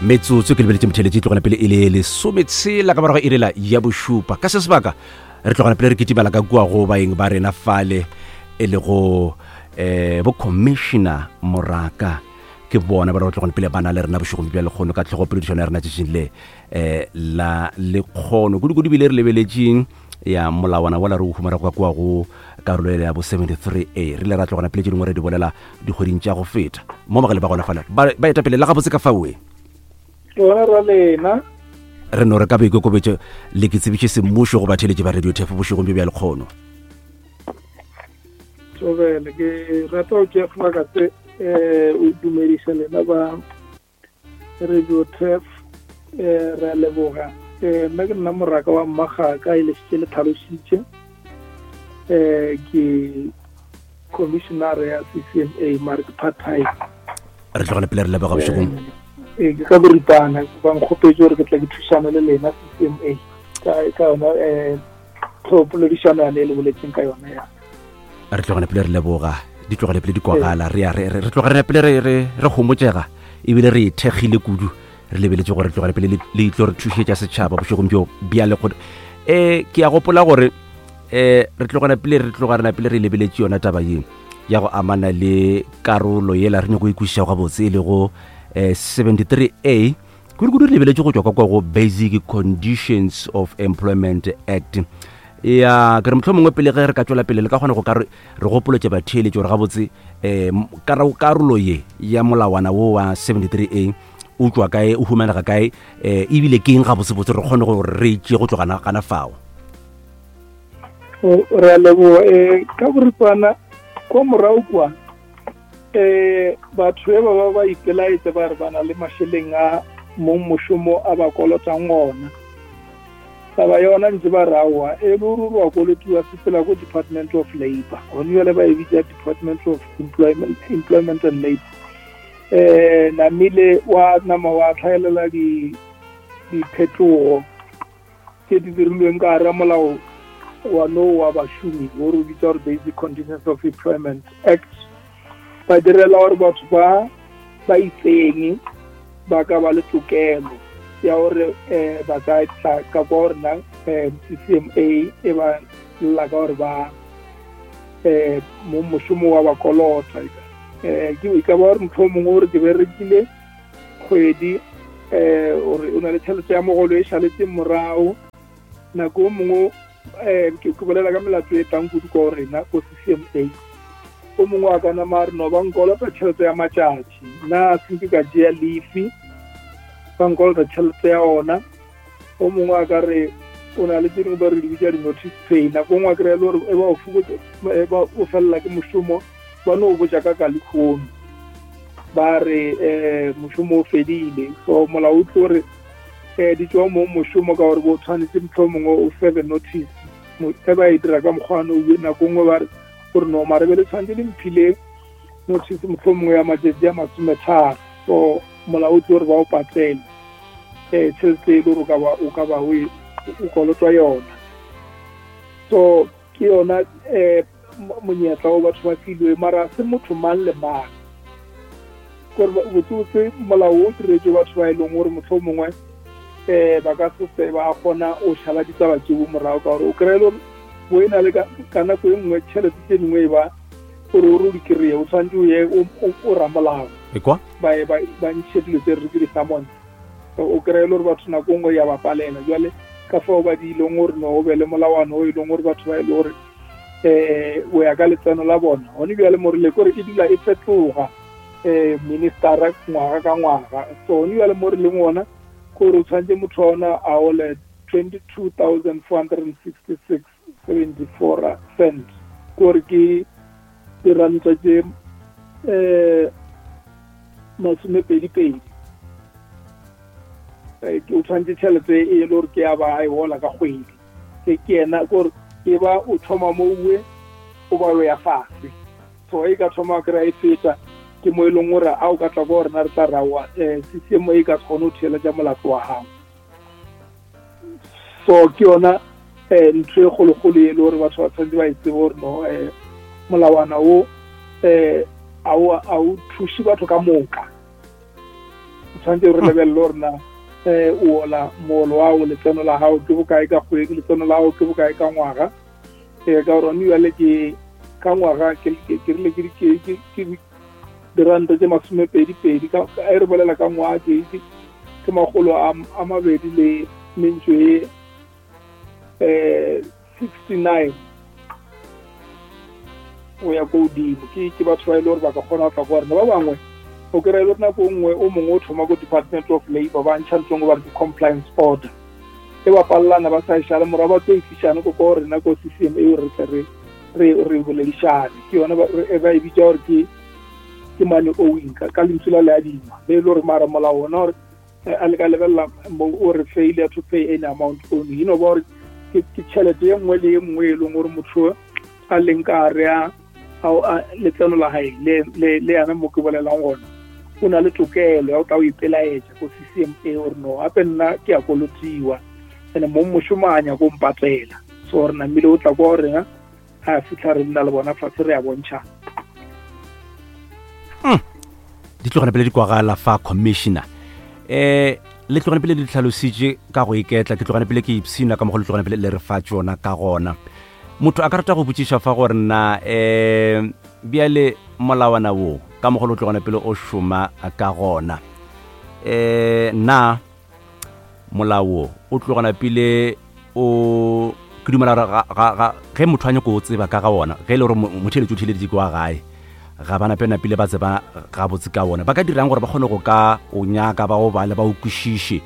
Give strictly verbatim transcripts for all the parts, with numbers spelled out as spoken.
Metsotso ke lebeletše motheletše tlogana pele e le lesometshela ka morago e lela ya bošupa. Ka se sebaka re tlogana pele re kitimela ka kua go baeng ba rena fale e lego um bo commissioner Moraka. Ke bona ba re tlogana pele ba na le rena bošegong bja lekgono ka tlhogopoledišano ya rena tšatšing le um la lekgono. Kudu-kudu bile re lebeletšeng ya molawana wala re o humana ka kua go karolo ya bo seventy-three A. Re ile ra tlogana pele tše dingwe re di bolela dikgweding tša go feta mo magale ba gona fale ba ba etapele la gabotse ka faoe rona ra lena re no re ka boikokobetšo le ke tsebiše semmušo go batheeletši ba Radio Turf bošegong bjo bja lekgono. Thobele, ke rata go tšea sebaka se um o dumediša lena ba Radio Turf. um re a leboga. um nna ke nna Moraka wa Mmagaka e le šetše le tlhalošitše. um ke commissioner ya C C M A mare ke part time. Re tlogele pele re leboga bošegong. Ee, ke ka boripana ba nkgopetše gore ke tla ke thušana le lena C C M A ka ka yona um tlhopoledišano yane e le boletseng ka yona ya. Re tlogele pele re leboga, di tlogele pele di kwagala, re ya re re tloga re pele re re re gomotšega ebile re ithekgile kudu, re lebeletše gore re tlogele pele le tlo re thušetša setšhaba bošegong bjo bja lekgono. Um ke a gopola gore um re tlogela pele re tloga rena pele re lebeletše yona taba ye ya go amana le karolo yela re nyako e kwešiša gabotse e lego um seventy-three A. Kudu-kudu re lebeletše go tšwa ka kwa go Basic Conditions of Employment Act. Ya ke re mohlomongwe pele ge re ka tšwela pele le ka kgona go ka re re gopoletše batheeletši gore gabotse um karolo ye ya molawana wo wa seventy-three A o tšwa kae, o humanega kae, um ebile ke eng gabotsebotse re kgone gore re itše go tloga gana fao. Re a leboga. um ka boripana kwa morago kwa um batho ba ba ba ipelaetsa ba re ba na le mašeleng a mong mošomo a ba kolotang ona. Taba yona ntse ba re aowa e le gore wa kolotiwa sepela ko Department of Labour, gone jwale ba e bitša Department of Employment, Employment and Labour. Um namile wa nama wa tlhaelela di diphetogo tše di dirilweng ka gare molao wa no wa bašomi wo re bitsa gore Basic Conditions of Employment Act. Ba direla gore batho ba ba itseng ba ka ba le tokelo ya gore um ba ka tla ka kwa gore na um C C M A e ba lla ka gore ba um mo mošomo wa ba kolota. Um ke e ka ba gore motho o mongwe gore ke berekile kgwedi um gore o na le tšhelete ya mogolo e šaletseng morago. Nako o mongwe um ke bolela ka melato e tlang kudu ka rena ko C C M A. O mongwe a ka nama a re no ba nkolota tšhelete ya matšatši, nna se ke ka tšea leave, ba nkolota tšhelete ya ona. O mongwe a ka re o na le tse dingwe ba re di bitša di-notice pay, nako nngwe a kry-a le gore e ba o fokotsa, e ba o felela ke mošomo, ba no botša ka ka lekgono ba re um mošomo o fedile. So molao o tlo re um di tšwa mo mošomo ka gore bo tshwanetse mohlomongwe o serve notice, e ba e dira ka mokgwa ono, nako nngwe ba re gore no mare be le tshwanetse le mphile notice mohlomongwe ya matšatši a masometharo. So molao o tlo re ba o patele um tšhelete e le gore o ka ba o o kolotwa yona. So ke yona um monyetla o batho ba filwe, mara se motho mang le mang. Kore botsebotse molao o diretswe batho ba e leng gore mohlomongwe um ba ka se ba kgona o šala ditaba tšeo morago, ka gore o kry-e le gore bo e na le ka nako e nngwe tšhelete tše dingwe e ba gore o re o di kry-e o tshwanetse o ye o ramolao ba ba ntšhe dilo tse re ke di-summons. O kry-e le gore batho nako nngwe ya ba palela. Jwale ka fao ba di ileng gore no o be le molawana o e leng gore batho ba e le gore um o ya ka letseno la bona. Gone bjale mo re le kore e dula e fetoga um ministera ngwaga ka ngwaga. So gone bjale mo re leng ona kore o tshwanetse motho wa ona a ole twenty-two thousand four hundred and sixty-six seventy-four cents, kore ke diranta tše um masomepedi pedi. O tshwanetse tšhelete e le gore ke ya ba e gola ka kgwedi. Ke ke yena kore e ba o thoma mo uwe o ba o ya fase. So e ka thoma kry-a e feta ke mo e leng gore a o ka tla ko rena re tla raowa um C C M A e ka se kgone go theeletša molato wa gago. So ke yona um ntho e kgolokgolo e le gore batho ba tshwanetse ba e tsebe gore no um molawana wo um a o thuše batho ka moka. O Tshwanetse re lebelele gore na um o ola moolo wa o letseno la gago ke bokae ka kgwedi, letseno la gago ke bokae ka ngwaga. Um ka gore one jale ke ka ngwaga ke rile ke diranta tse masomepedi pedi, e re bolela ka ngwaga ke ke makgolo a mabedi le mentšo e um sixty-nine o ya ko godimo. Ke ke batho ba e le gore ba ka kgona go tla go rena. Ba bangwe o kry-e le nako nngwe o mongwe o thoma ko Department of Labour, ba ntšha ntho ba re ke compliance order, e ba palelana ba sa e šale morago, ba tlo e tlišane ko ko rena ko C C M A gore re tle re re re boledišane. Ke yone ba e bitša gore ke ke money owing ka lentswe la leadima, le e le gore mara molao ona gore a le ka lebelela mo o re failure to pay any amount owing, e no ba gore ke tšhelete ye nngwe le ye nngwe e leng gore motho a leng ka gare a letseno la gae le le yana mo ke bolelang gona, o na le tokelo ya go tla o ipelaetša ko C C M A gore no gape nna ke a kolotiwa ene mo mošomo a nyako mpatlela. So re namile o tla kwa rena a fitlha re nna le bona fatshe re a bontšha. Di tlogane pele di kwagala fa commissioner um le tlogane pele di tlhalositše ka go iketla, ke tlogane pele ke ipshina ka mo go le tlogane pele le re fa tšona ka gona. Motho a ka rata go botšiša fa gore na um bjale molawana wo ka mo go le tlogane pele o šoma ka gona, um na molao o tlogana pele o ke dumela gore ge motho a nyako o tseba ka ga wona, ge e le gore motheeletši o theeleditše ke wa gae, ga ba nape napile ba tseba gabotse ka wona, ba ka dirang gore ba kgone go ka o nyaka ba o bale ba o kwešiše?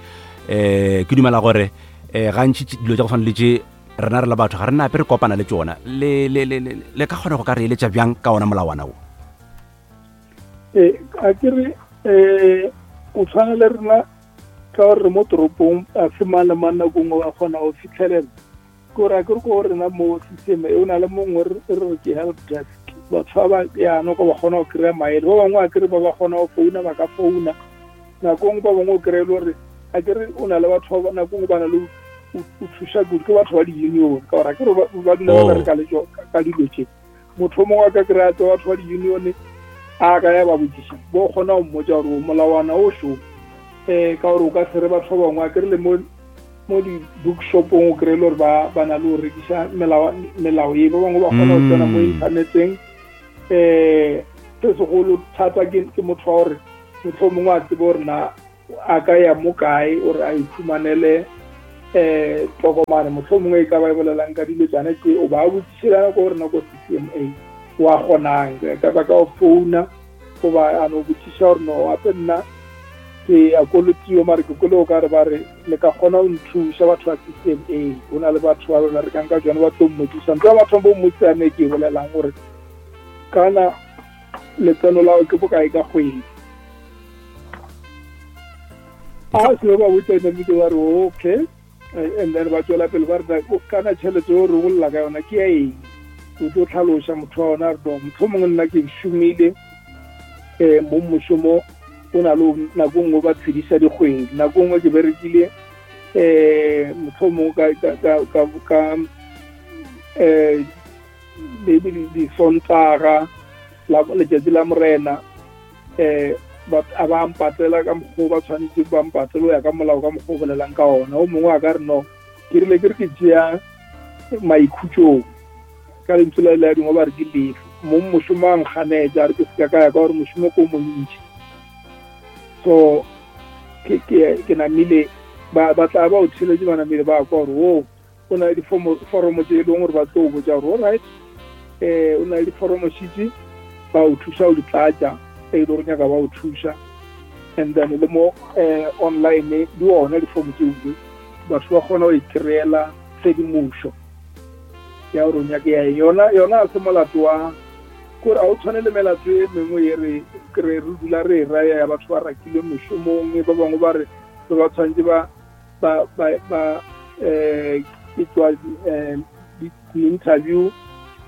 Um ke dumela gore um gantši dilo tša go tshwana le tše rena re la batho ga re nape re kopana le tšona, le le le le ka kgona go ka re eletša bjang ka ona molawana wo? Ee, a ke re um o tshwana le rena ka gore re mo toropong, a se mang le mang nako nngwe ba kgona go fitlhelela. Ke gore a ke re ko rena mo system e o na le mongwe re re ke help desk, batho ba ba yana ko ba kgona go kry-a maele. Ba bangwe a kere ba ba kgona go founa, ba ka founa nako nngwe. Ba bangwe o kry-e le gore a kere o na le batho ba nako nngwe ba na le o thuša kudu ke batho ba di-union, ka gore a kere ba dula ba bereka le ka dilo tše. Motho o mongwe a ka kry-a tse batho ba di-union a ka ya ba botšiša, bo kgona go mmotša gore molawana o šo um ka gore o ka se re batho ba bangwe a kere le mo mo di-bookshopong o kry-e le gore ba ba na le go rekiša melao ye, ba bangwe ba kgona go tsena mo inthaneteng. Um se segolo thata ke motho wa gore motho o mongwe a tsebe gore na a ka ya mo kae gore a ikhumanele um tokomane, motlho mongwe e ka ba e bolelang ka dilo tsane tse, o ba botšišelana ko gore nako C C M A wa kgonang ka ba ka o founa goba a no botšiša gore no gape nna ke a kolotiwa, mare ke kole o ka re ba re le ka kgona go nthuša batho ba C C M A. O na le batho ba ba berekang ka tsone ba tlo mmotšiša ntho ya batho bo mmotšišane ke e bolelang gore kana letseno la ke bokae ka kgwedi. A se ba botša namile ba re okay, and then ba tswela pele ba re kana tšhelete o re bolela ka yona ke ya eng, o tlo tlhaloša motho wa ona re no motho mongwe nna ke šomile um mo mošomo o na le nako nngwe ba tshediša dikgwedi, nako nngwe ke berekile um motho mongwe ka ka um maybe disontaga letšatši la morena um a ba mpatela ka mokgwa ba tshwanetse ba mpatele o ya ka molao ka mokgwa o bolelang ka ona. O mongwe a ka re no ke rile ke re ke tšea maikhutšong ka lentswe la le dingwe ba re ke lefe, mo mošomo a nkganetša a re ke se ka ka ya ka gore mošomo ko montši. So ke ke ke namile ba ba tla ba o theletše ba namile ba kwa gore o o na le diforomo tše e leng gore ba tlo o botša gore alright um o na le diforomo šitše ba o thuša o di tlatša e le gore nyaka ba o thuša, and then le mo um online di ona difomo tšeo batho ba kgona go ikry-ela tshedimošo ya gore o nyake ya eng. Yona yona a se molato wa kore a o tshwane le melato e mengwe e re re re dula re e raya ya batho ba rakilwe mešomong, ba bangwe ba re ba tshwanetse ba ba ba ba um ke tswa um di-interview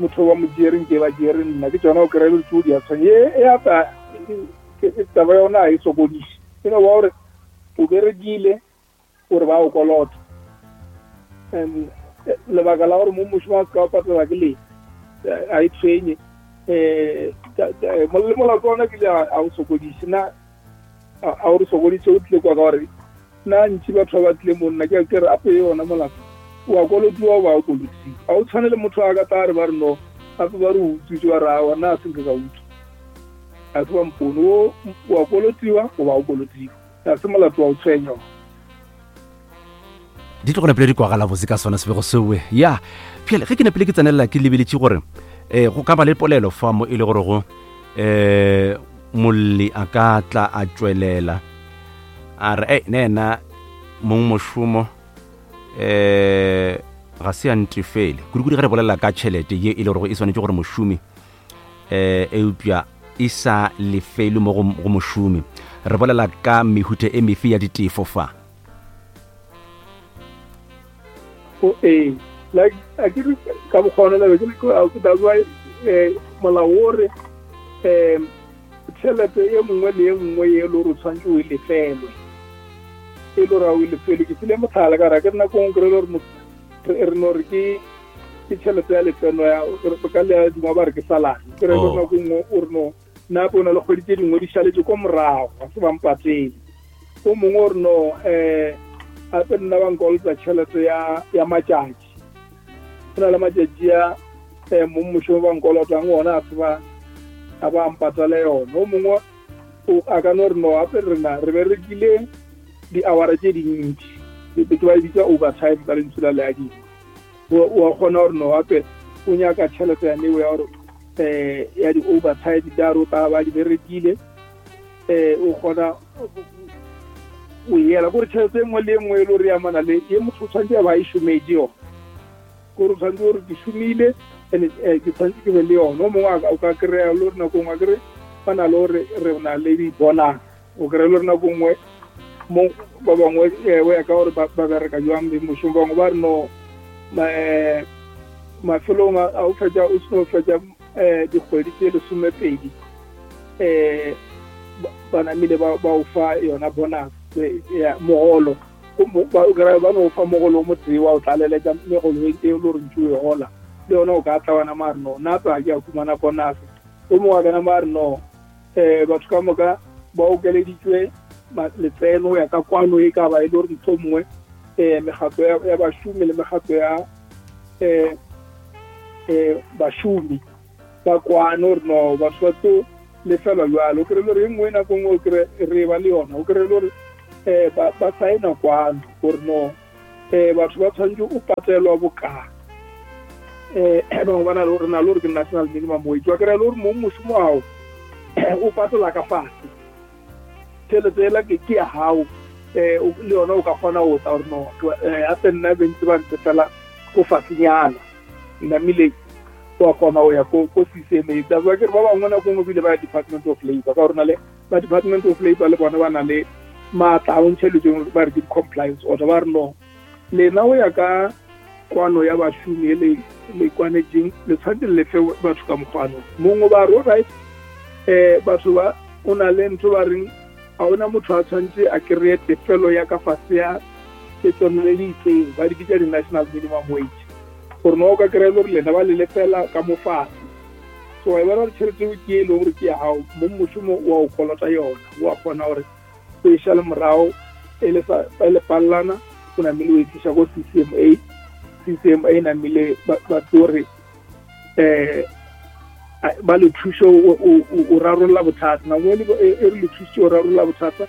motho ba mo tšereng ke ba tšere nna ke tsona o kry-e le tseo di a tshwane e apa taba yona a e sokodiše, e no ba gore o berekile gore ba o kolota and lebaka la gore mo mošomo a se ka o patela ke le a e tshwenye um le molato ona ke le a o sokodiše. Na a o re sokoditše o tlile kwa ka gore nna ntši batho ba ba tlile mo nna ke ke re ape yona molato wa kolotiwa ba o kolotiwa a o tshwane le motho a ka tla re ba re no gape ba re utswitse ba re awa nna a senke ka utswa a se ba mpone o wa kolotiwa goba o kolotiwa ga se molato wa o tshwenya. Di tlo go nepele di kwagala botse ka sona sebego sewe ya pjale ge ke nepele ke tsenelela ke lebeletše gore um go ka ba le polelo fa mo e le gore go um molli a ka tla a tšwelela a re ei ne ena mong mošomo um ga se a ntefele kudu-kudu ge re bolela ka tšhelete ye e le gore e swanetše gore mošomi um eupša e sa lefelwe mo go mošomi. Re bolela ka mehuta e mefe ya ditefo fa? O ee like a ke re ka bokgona le ke le that's why eh molao o re um tšhelete e nngwe le e nngwe ye le gore o tshwanetse o e lefelwe e le gore a o e lefelwe. Ke file motlhala ka gore ke re nako nngwe kry-e le gore re no re ke ke tšhelete ya letseno ya ka le dingwe ba re ke salary kry-e le nako nngwe o re no nna o na le kgwedi tse dingwe di šaletse ko morago ga se ba mpatele. O mongwe o re no um gape nna ba nkolota tšhelete ya ya matšatši go na le matšatši a um mong mošomo ba nkolotang ona a se ba a ba mpatale yona. O mongwe a ka no re no gape rena re berekile di-hour tše dintši ke ba e bitsa overtime ka lentswe la leadingwe. O a kgona gore no gape o nyaka tšhelete ya neo ya gore um ya di-overtime tša re o tla ba di berekile um o kgona o yela kore tšhelete e nngwe le e nngwe e le gore e amana le ye motho o tshwanetse a ba e šometse yona kore o tshwanetse gore ke šomile and ke tshwanetse ke be le yona. O mongwe o ka kry-a le gore nako nngwe a kere ba na le gore re na le di-bonus o kry-e le gore nako nngwe mo ba bangwe o ya ka gore ba bereka jwang mošomo bangwe ba re no mafelong a o fetša o seno fetša um dikgwedi tše lesomepedi um ba namile ba o fa yona bonus ya mogolo ba no fa mogolo o motee wa o tlaleletša megolo e le gore ntse o e gola le yona o ka tla wana mare no nna tsa ke a khumana bonus. O mongwe a kana mare no um batho ka moka ba okeleditswe letseno ya ka kwano e ka ba e le gore ntho mongwe um mekgatlo ya bašomi le mekgatlo ya um um bašomi ba kwane gore no batho ba tlo lefelwa jalo. O kry-e le gore e nngwe nako nngwe o kry re ba le yona o kry-e le gore um ba saena kwano gore no um batho ba tshwanetse o patelwa bokaa um bangwe ba na le re na le gore ke national minimum wage wa kry-a le gore mong mošomo ao o patela ka fase tšhelete ela ke ya gago um le yona o ka kgona go tla gore no gape nna bentse ba ntse fela ko fasenyana namile wa kgona go ya ko C C M A. That's why ke re ba bangwe nako nngwe bile ba ya Department of Labour ka gore na le ba Department of Labour le bona ba na le maatla a o ntšheletseng ba re ke di-compliance order ba re no lena o ya ka kwano ya bašomi e le le kwanetseng le tshwanetse le lefe batho ka mokgwano mongwe ba re alright um batho ba o na le ntho ba reng ga ona motho a tshwanetse a kry-e tefelo ya ka fase ya letseno le le itseng ba di bitsa di-national minimum wage gore no o ka kry-e le gore lena ba le lefela ka mo fase. So wa e bona gore tšhelete eo ke e leng gore ke ya gago mong mošomo wa o kolota yona o a kgona gore o e šale morago e le pallana o namile o e tliša ko C C M A. C C M A namile ba tlo re um ba le thušo o rarolla bothata nako e re le thusitse o rarolla bothata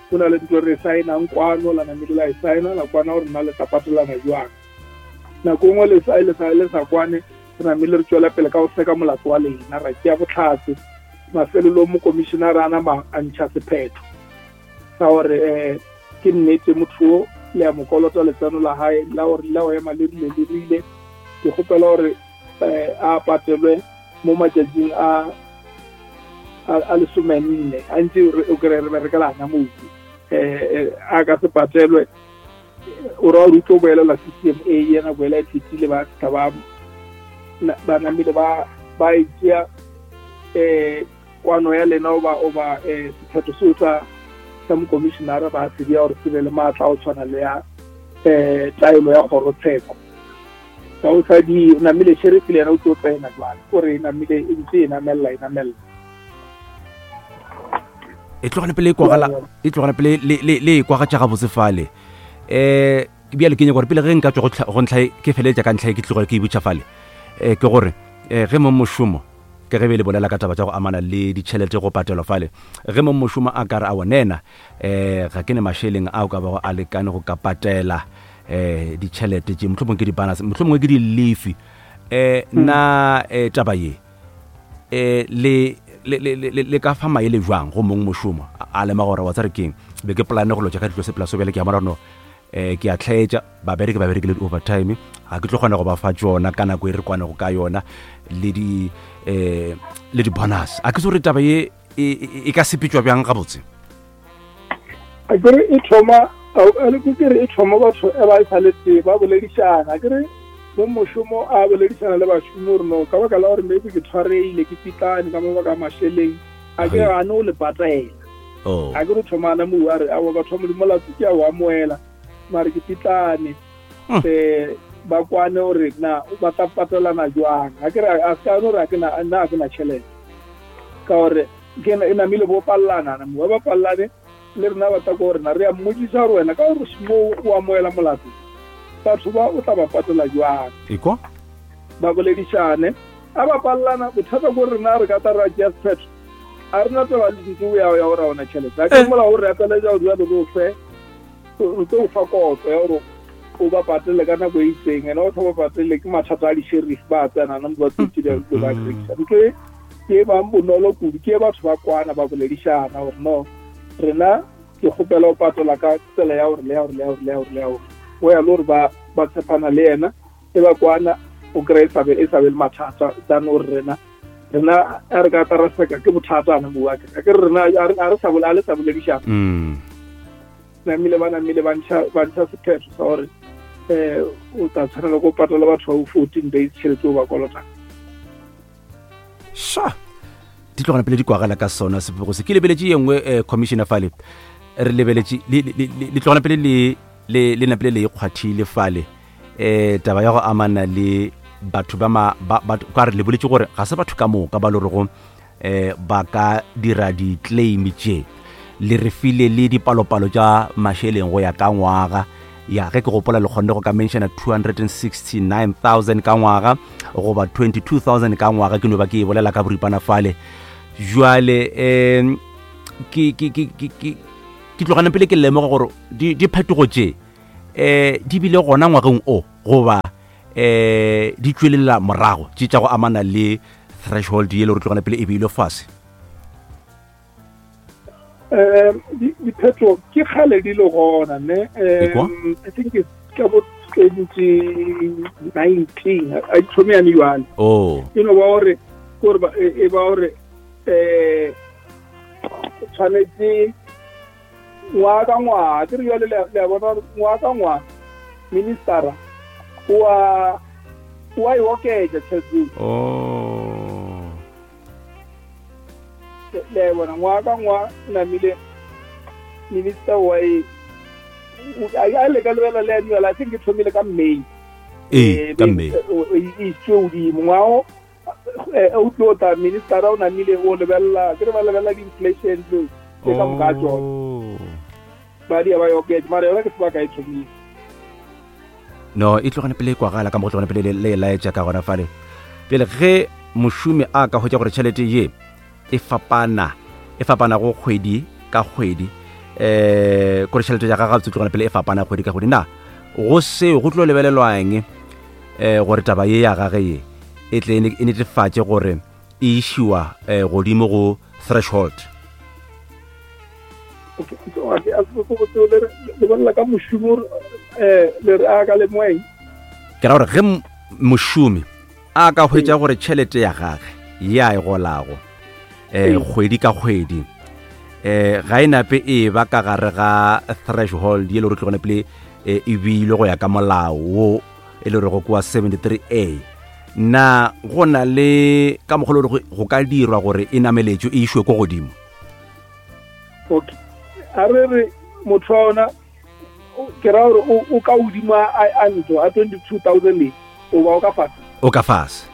go na le ntlo re saenang kwano la namile la e saena la kwana gore nna le tla patelana jwang. Nako nngwe le sa le sa le sa kwane re namile re tswela pele ka go seka molato wa lena ra tšea botlhatse mafelelong mo commissionera a nama a ntšha sephetho sa gore um ke nnete motho o le ya mo kolota letseno la hae la gore la go ema le rile le rile ke kgopela gore um a patelwe mo matšatšing a a lesomenne a ntse o kry re berekela ana mobu um a ka se patelwe o ra gore o tlo boelela C C M A yena boela e fetile ba fitlha ba ba namile ba ba e tšea um kwano ya lena oba oba um sephetho seo sa sa mokomišenara ba se bea gore se be le maatla a go tshwana le ya um taelo ya kgorotsheko. Ka o sa di namile sheriff le yena o tlo tsena jwale kore e namile e ntse e namelela e namelela. E tlogane pele e kwagala, e tlogane pele le le le e kwagatša gabotse fale. Eh bjale ke nyaka gore pele ge nka tswa go ntlha ke feleletša ka ntlha e ke tloga ke e butša fale. Eh ke gore eh ge mong mošomo ke ge be le bolela ka taba tša go amana le ditšhelete go patelwa fale, ge mong mošomo a ka re a wonena eh ga ke ne mašeleng ao ka bago a lekane go ka patela eh ditšhelete tše, mohlomongwe ke di-bonus, mohlomongwe ke di-lefi, eh na eh taba ye eh le le le le ka fa maele jwang go mong mošomo a lema gore wa tsare keng be ke plane go lotša ka ditlo sepela so bjale ke a bona no eh ke a tlhaetša babereki ba berekile di-overtime, ga ke tlo kgona go ba fa tšona ka nako e re kwanego ka yona le di eh le di-bonus. A ke se gore taba ye e ka sepetšwa bjang gabotse? A kere e thoma ke re e thoma batho e ba e sa le tee ba boledišana. A kere mo mošomo a boledišana le bašomi gore no ka baka la gore maybe ke tshwareile ke pitlane ka mabaka a mašeleng, a ke gane o le patela. A ke re thomana mo a re aowa batho ba Modimo molato ke a o amoela mare ke pitlane. Um ba kwane gore na ba tla patelana jwang. A ke re a se ka no re a ke na nna a ke na tšhelete ka gore ke e namile bo pallana na mo ba pallane le rena ba tla ko rena re a mmodisa gore wena ka gore mo o amoela molato batho ba o tla ba patela jwang. Ekwa ba boledišane a ba pallana bothata ko rena re ka tla ra tšea sephetho a rena taba le ntlo ya ya gore ona tšhelete a ke mola gore apeletša gore jalo re o fe re tlo o fa kotlo ya gore o ba patele ka nako e itseng, ene o sa ba patele ke mathata a di-sheriff ba tsenana mo ba tsotsi ba ba rekisa. Ntlo e ke e bang bonolo kudu ke e batho ba kwana ba boledišana gore no rena ke kgopela o patela ka tsela ya gore le ya gore le ya gore le ya gore le ya gore o ya le gore ba ba tshepana le yena e ba kwana o kry-e sa be e sa be le mathata than gore rena rena a re ka tla ra seka ke bothata ana mo wa ke ke rena a re sa bola le sa boledišana. Namile ba namile ba ntšha ba ntšha sephetho sa gore eh o tla tshwanela go patela batho ba fourteen days tšhelete o ba kolotang. Sha di tlogana pele di kwagala ka sona sebego se. Ke lebeletše ye nngwe eh commissioner fale re lebeletše le tlogana pele le le le napele le ikgwathile fale eh taba ya go amana le batho ba ma ba ka re le boletše gore ga se batho ka moka ba lorego eh ba ka dira di-claim tše, le re file le dipalopalo tša mašeleng go ya ka ngwaga. Ya ge ke gopola le kgonne go ka mentiona two hundred sixty-nine thousand ka ngwaga goba twenty-two thousand ka ngwaga, ke no ba ke e bolela ka boripana fale. Jwale um ke ke ke ke ke ke tlogane pele ke lemoga gore diphetogo tše um di bile gona ngwageng o goba um di tšwelela morago tše tša go amana le threshold ye le gore tlogane pele e beilwe fase. Um diphetho ke kgale di le gona ne. Um I think it's ka bo twenty nineteen a di thome yane jwale. Oh e no ba gore gore e ba gore eh tshwanetse ngwaga ka ngwaga ke re jwale le a bona ngwaga ka ngwaga ministera wa wa e oketša tšhelete. Oh le bona ngwaga ka ngwaga namile minister wa e a le ka lebela le annual I think ke thomile ka May. Ee ka May e iswe godimo ngwago o tlo tla minister o namile o lebelela ke re ba lebelela di-inflation tse ka moka tsona ba di ba e oketša mara yona ke sebaka e thomile. No e tlogane pele e kwagala ka mo go tlogane pele le laetša ka gona fale. Pele ge mošomi a ka hwetša gore tšhelete ye e fapana e fapana go kgwedi ka kgwedi eh gore tšhelete ya gagwe tlogane pele e fapana kgwedi ka kgwedi, na go seo go tlo lebelelwang eh gore taba ye ya gage ye e tle e netefatše gore e išiwa godimo go threshold? Ke ra gore ge mošomi a ka hwetša gore tšhelete ya gage ya e golago eh kgwedi ka kgwedi eh ga e nape e ba ka gare ga threshold ye le gore tlogone pele e beilwe go ya ka molao wo e le rego kwa seventy-three A, na go na le ka mokgwa le gore go ka dirwa gore e nameletšwe e išwe ko godimo? Okay a re re motho wa ona ke ra gore o ka godimo a ntlo a twenty-two thousand e o ba o ka fase o ka fase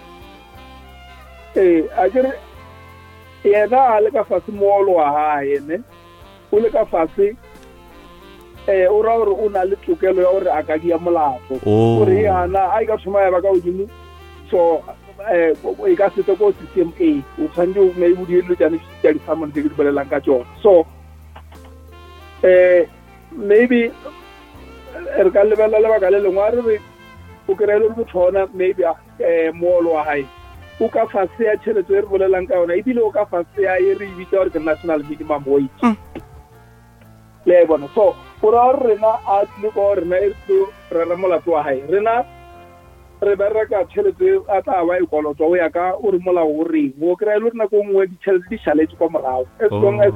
ee a ke re yena a le ka fase moolo wa hae ne O le ka fase eh o ra gore o na le tokelo ya gore a ka dia molato. Oh. Gore yana a e ka thoma ya ba ka godimo so eh e ka se ko C C M A o tshwanetse o maybe o die dilo tsane tša di-summon tse ke di bolelang ka tsona. So eh maybe re ka lebelela lebaka le lengwe, a re re o kry-e le gore motho ona maybe um moolo wa gae o ka fase ya tšhelete e re bolelang ka yona, ebile o ka fase ya e re e bitsa gore ke national minimum wage, le a e bona. So o ra gore rena a tlile ko rena e re tlo rera molato wa gae, rena re bereka tšhelete e a tla ba e kolotwa o ya ka o re molao o reng. O kry-e le gore nako nngwe ditšhelete di šaletse kwa morago, as long as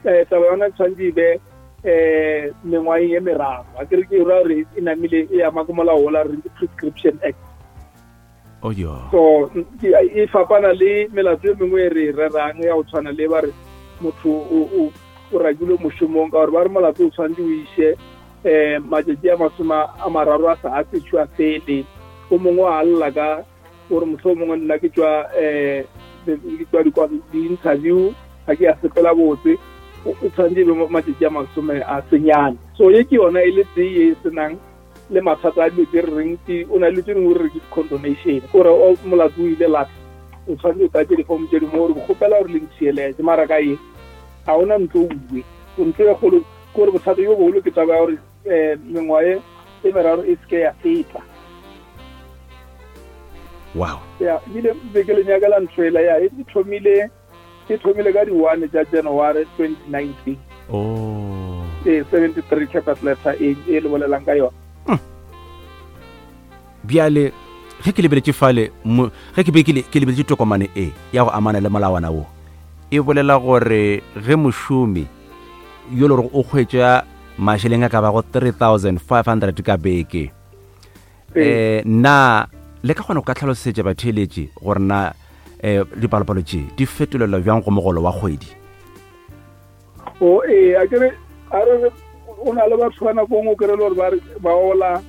eh taba yona tshwanetse e be eh mengwageng e meraro. A kere ke ra gore e namile e ama ke molao ola re ke Prescription Act. Oh yo. So ke- e fapana le melato e mengwe e re e rerang ya go tshwana le ba re motho o o o rakilwe mošomong, ka gore ba re molato o tshwanetse o iše um matšatši a masome a mararo a sa a sešo a fele. O mongwe a lla ka gore motlho o mongwe nna ke tswa um ke tswa dikwa- di-interview ga ke a sepela botse, o o tshwanetse e be mo matšatši a masome a senyane. So ye ke yona e le tee ye e senang le mathata a dilo tse re reng ke o na le tse dingwe re re ke condonation, kore o molato o ile lata, o tshwanetse o tlatse difomo tse dingwe gore ke kgopela gore le ntšhieletse, mara ka ye ga ona ntlo uwe o ntlo e kgolo. Ke gore bothata jo bogolo ke taba ya gore um mengwaga e e meraro e seke ya feta. Wow. Ya, ebile be ke le nyakela ntho ela ya e thomile e thomile ka di-one tša January twenty nineteen. Oh. Ee, seventy-three capital letter e e le bolelang ka yona. Bjale ge ke lebeletše fale mo- ge ke be ke le- ke lebeletše tokomane e ya go amana le molawana wo, e bolela gore ge mošomi yo le gore o kgwetša mašeleng a ka bago three thousand five hundred ka beke, eh na le ka kgona go ka tlhalosetša batheeletši gore na eh dipalopalo tše di fetolelwa bjang go mogolo wa kgwedi? O ee, a kere a re re o na le batho ba nako nngwe o kry-e le gore ba re ba ola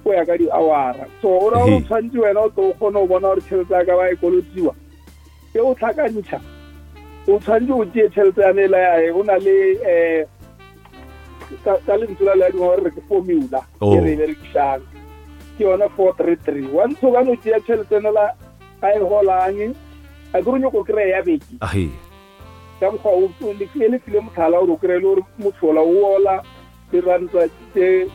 go ya ka di-hour-a, so o ra gore o Ehe. tshwanetse wena o tlo o kgone go bona gore tšhelete ya ka ba e kolotiwa e o tlhakantšha, o tshwanetse o tšee tšhelete yane ela yae o na le um ka ka lentswe la le dingwe gore re ke formula Oh. e re e berekišang ke yona four three three. Once o bane o tšea tšhelete nela a e golang, a ke re o nyako kry-a ya beke Ahe. ka mokgwa o o- le e le file motlhala gore o kry-e le gore motho ola o ola diranta tse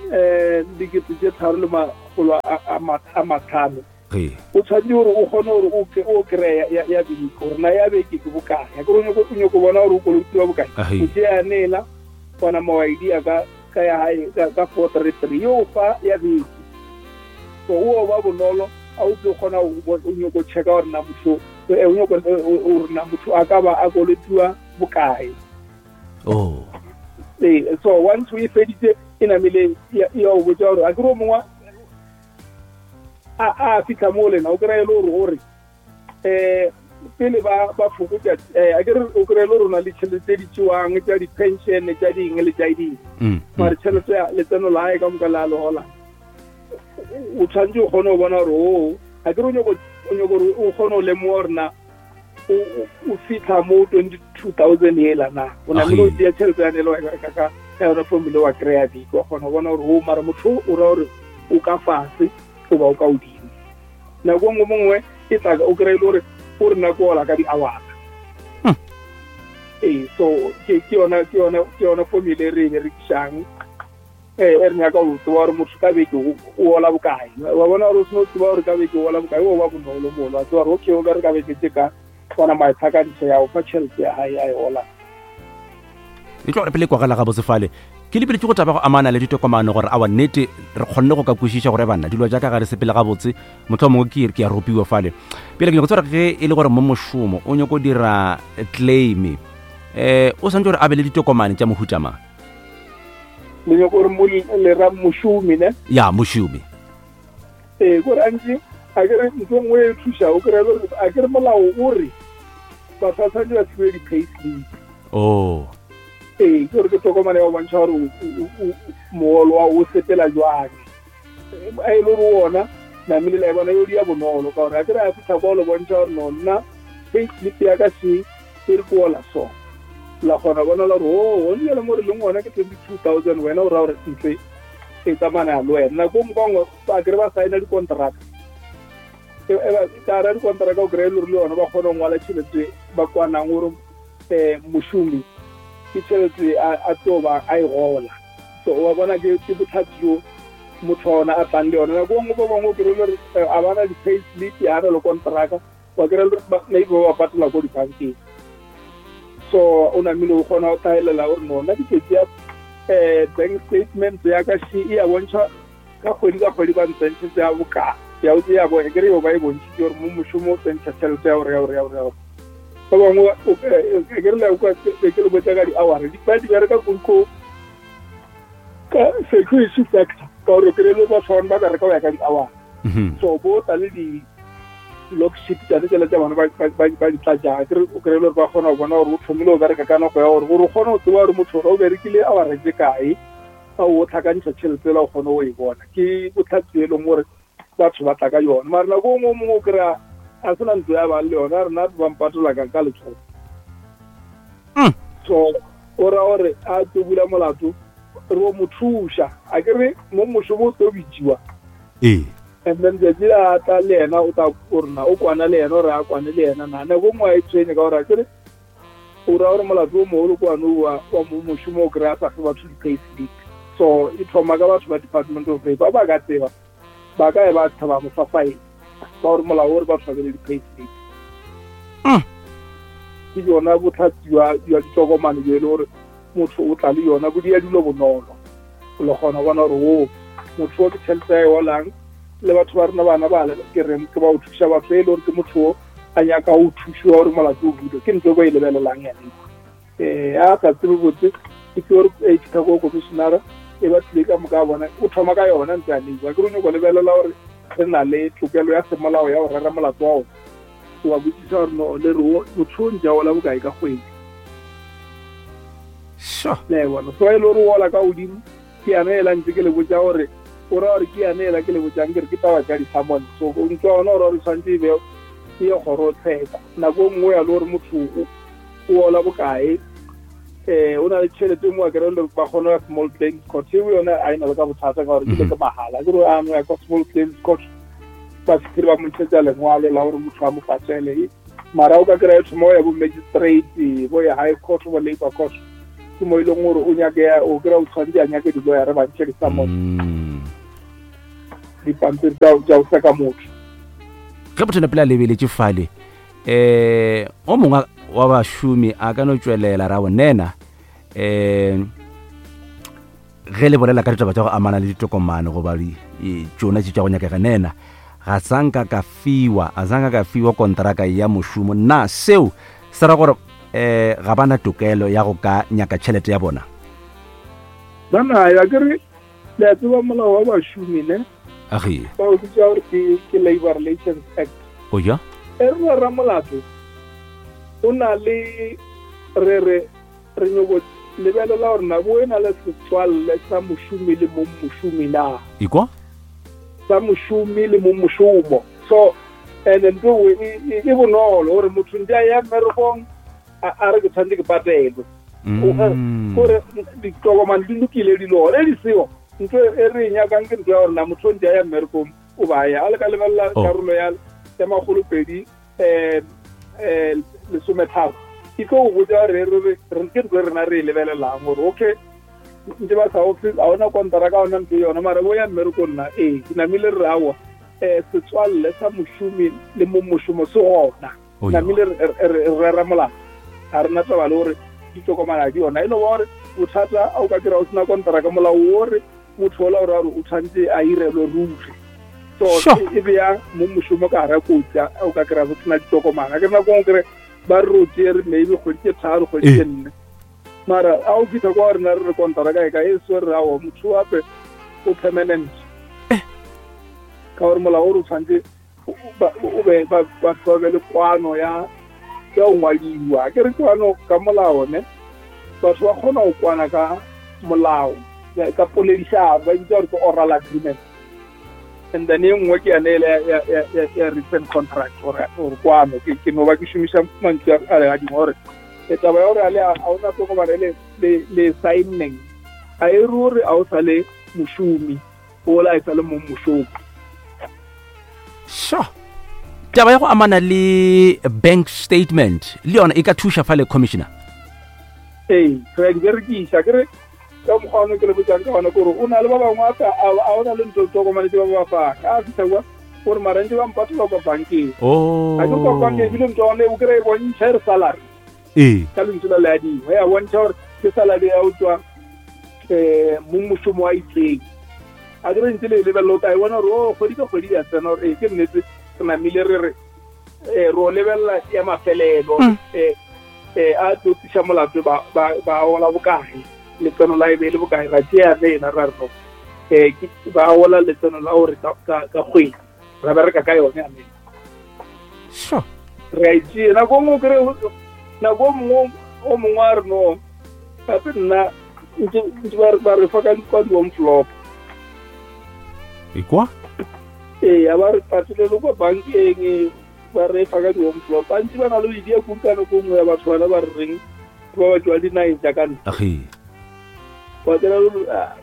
um dikete tse tharo le makgolo a- a ma- a matlhano, Ge. O tshwanetse gore o kgone gore o ke- o kry-e ya- ya beke gore na ya beke ke bokae. A ke re o nyako o nyako bona gore o kolotiwa bokae. Ahe. O tšea nela gona mawaidi a ka ka ya hae ka ka four three three yo fa ya beke, so o ba bonolo a o tlo kgona go bo- o nyako checka gore na motho eh, o nyako gore na motho a ka ba a kolotiwa bokae. Oh. Ee, so once o e feditse e namile e ya o botsa gore a ke re o mongwe a a fitlha mo lena o kry-e le gore gore um pele ba ba fokotsa um a ke re o kry-e le gore o na le tšhelete tse di tšewang tša di-pension tša ding le tša ding, mm mare tšhelete ya letseno la gae ka moka le a le gola, o tshwanetse o kgone go bona gore o a ke re o nyako o nyako gore o kgone go lemoga gore na o o- o fitlha mo twenty two thousand ela na o namile o Ahe. tšea tšhelete yane le wa- ka ka ka yona formula wa kry-a beke, wa kgona go bona gore o mara motho o ra gore o ka fase goba o ka godimo. Nako nngwe mongwe e tla o kry-e le gore o re nako ola ka di-hour. Hmm. Ee, so ke ke yona ke yona ke yona formula e re e berekišang eh e re nyaka go tseba gore motho ka beke o o ola bokae. Wa bona gore o seno tseba gore ka beke o ola bokae, o ba bonolo molo wa tseba gore okay, o bereka beke tse ka bona matlhakantšho ya o fa tšhelete ya gae a e ola. E tlo gore pele kwagala ga botsefale ke lebeletše go taba go amana le ditokomane gore awa nnete re kgonne go ka kwešiša gore banna dilo jaaka ga re sepele gabotse, motlho mongwe ke ke a ropiwa fale pele. Ke nyako tseba gore ge e le gore mo mošomo o nyako dira claim um o swantse gore a be le ditokomane tša mohuta mang? Le nyako gore mo le ra mošomi ne? Ya, mošomi. Ee, kore antse a kere ntho nngwe e thuša o kry-e le gore a kere molao o re batho ba tshwanetse ba fiwe di-pay slip. Oh. Ee, ke gore ke tokomane ya go bontšha gore o- o- o- moolo wa o sepela jwang a e le gore ona namile la e bona yo dia bonolo ka gore a kere a fitlha kwa o le bontšha gore no nna pay slip ya ka se e re ke ola so. La kgona bona la gore o gone jale mo re leng gona ke twenty two thousand wena o raya gore ntlo e tsamaya le wena nako nngwe bangwe ba kry ba signa dikontraka ka ra dikontraka o kry-e le gore le yone ba kgone go ngwala tšhelete ba kwanang gore um mošomi ke tšhelete a tlo ba a e gola so wa bona ke ke bothata jo motho wa ona a tlang le yone nako nngwe ba bangwe o kry-e le gore a bana di-pay slip a na le kontraka wa kry-e le maybe ba ba patela ko dibankeng so o namile o kgona go tlhaelela gore no nna ke ya um bank statement ya ka she e ya bontšha ka kgwedi ka kgwedi ba ntsentšhetse ya boka ya ya bo ke re yo ba e bontšhitse gore mo mošomo o tsentšha tšhelete ya gore ya gore ya gore ya gore ba bangwe ke re le kwa ke le botsa ka di-hour ba di bereka ko ka security sector ka gore kry le batho bangwe ba bereka go ya ka di-hour so bo tla le di-log sheet tsane tsela tsa bona ba di tlatjang kere o kry-e le gore ba kgona go bona gore o thomile o bereka ka nako ya gore gore o kgone go tseba gore motho o berekile hour tse kae a o tlhakantšha tšhelete ela o kgone go e bona ke botlhatsi e leng gore batho ba tla ka yone mara nako o mongwe o kry-a a sena ntlo ya bang le yone a rena ba mpatola ka ka letsogo so o ra gore a tlo bula molato re o mo thuša a ke re mo mošomo o tlo bitsiwa ee and then tsatsi le a tla le yena o tla orna o kwana le yena ore a kwane le yena na nako nngwe a e tshwenye ka gore a kere o ra gore molato o mogolo kwane wa wa mo mošomo o kry-a sa fe batho di-pay slip so e thoma ka batho ba department of labour ba ka tseba ba ka e ba thaba mo fa faele ka gore molao o re batho ba be le di-pay slip ke yona botlhatsi jwa ditokomane jo e le gore motho o tla le yona bo dia dilo bonolo o le kgona bona gore o motho o ke tšhelete ya e golang le batho ba rena bana ba ke reng ke ba o thuša batho e le gore ke motho o a nyaka go thušiwa gore molato o bulwe ke ntho e ba e lebelelang yane um a sa tsebe botse ke gore e fitlha ko commissionera e ba tlile ka moka bona o thoma ka yona ntse a neiwa ke re nyako lebelela gore re na le tokelo ya semolao ya go rera molato wa ona o ba botsisa gore no le re motho o ntse a ola bokae ka kgwedi sure le bona so e le gore o ola ka godimo ke yana ela ntse ke le botsa gore o ra gore ke yana ela ke le botsang ke re ke taba tša di-summon so ntse wa ona gore gore tshwanetse e be e ye kgorotsheko nako e nngwe ya le gore motho o ola bokae um o na le tšhelete mo a kry le ba kgona ya small claims court eo yone a e na le ka bothata ka gore ke le ke mahala ke re ano ya kwa small claims court ba fitlhile ba mo ntshetsa lengwalo la gore motho a mo patele mara o ka kry-a e thoma o ya bo magistrate bo ya high court bo labour court ke mo e leng gore o nyake o kry-a o tshwanetse a nyake di-lawyer ba ntshe di-summon dipampiri tsa go seka motho ge motho napele a lebeletše fale um o mongwe wa bašomi a ka no tšwelela ra bonena um ge le bolela ka ditaba tša go amana le ditokomane goba tšona tše tša go nyakega nena ga sanka ka fiwa a sanka ka fiwa kontraka ya mošomo na seo se ra gore um ga bana tokelo ya go ka nyaka tšhelete ya bona ba nayo a kere le a tseba molao wa bašomi ne age ba o bitsa gore ke ke labor relations act o ja e re ra molato o na le re re re nyoko lebelela gore nako e na le setswalle sa mošomi le mong mošomi na ikwa sa mošomi le mong mošomo so and ntho e bonolo gore motho ntse a ya mmerekong a re ke tshwanetse ke patelwe gore ditokomane di lokile dilo e di seo ntho e re e nyakang ke ntho ya gore na motho ntse a ya mmerekong o ba ya a le ka lebelela karolo ya ya makgolo pedi um um lesometharo e tlo go botsa gore re re ke ntho e rena re e lebelelang gore okay ntse ba sa office a ona kontraka a ona ntho yona mara bo ya mmerekong nna ee ke namile re aowa um setswalle sa mošomi le mo mošomo se gona namile re rera molato ga rena taba le gore ditokomane di yona e le gore bothata a o ka kry-a o sena kontraka molao o re motho ola ore o tshwanetse a irelwe ruri so e beya mo mošomo ka gara kotsi a o ka kry-a go sena ditokomane a ke nako ngwe kry ba re o tsere maybe kgwedi tse tharo kgwedi tse nne mara a o fitlha kwa rena re re kontraka e ka e se re aowa motho ape o permanent ka gore molao o re o tshwanetse o be batho ba be le kwano ya ya go ngwadiwa ke re kwano ka molao ne batho ba kgona go kwana ka molao ka poledišano ba bitsa gore ke oral agreement and then e nngwe ke yane ele ya written contract gore gore kwano ke no ba ke šomiša mantšu a le a dingwe gore E taba ya gore a le a ona tokomane le le le signing a e ruri a o sa le mošomi ola e sa le mong mošomo. Sure. Taba ya go amana le bank statement le yona e ka thuša fa le commissioner. Ee, re a di berekiša ke re ka mokgwa ono ke le botsang ka gona kore o na le ba bangwe a a ona le ntho tokomane tse ba ba fang a fitlha kwa gore marantse ba mpatola kwa bankeng. Oh. A ke kwa bankeng ebile ntho one o kry-e bontšha e re salary. Ee. Ka lentswe la leadingwe ya bontšha gore ke salary ya o tswa um mong mošomo wa itseng. A ke re ntse le e lebelela o tla e bona gore o kgwedi ka kgwedi ya tsena gore ee ke nnete re namile re re um re o lebelela ya mafelelo um a tlo tliša molato ba ba ola bokae letseno la e be le bokae ra tšea rena ra re no um ba ola letseno la gore ka kgwedi ra bereka ka yone amen. Sure. Re a itšea nako nngwe kry nako o mongwe o mongwe a re no gape nna ntse ba re fa ka kwa di-envelope. E kwa? Ee, a ba re patelele kwa bankeng ba re fa ka di-envelope. Bantsi ba na le idea kudu ka nako nngwe ya batho bana ba re reng ba ba tswa dinageng tša ka ntle. Age. Wa tsela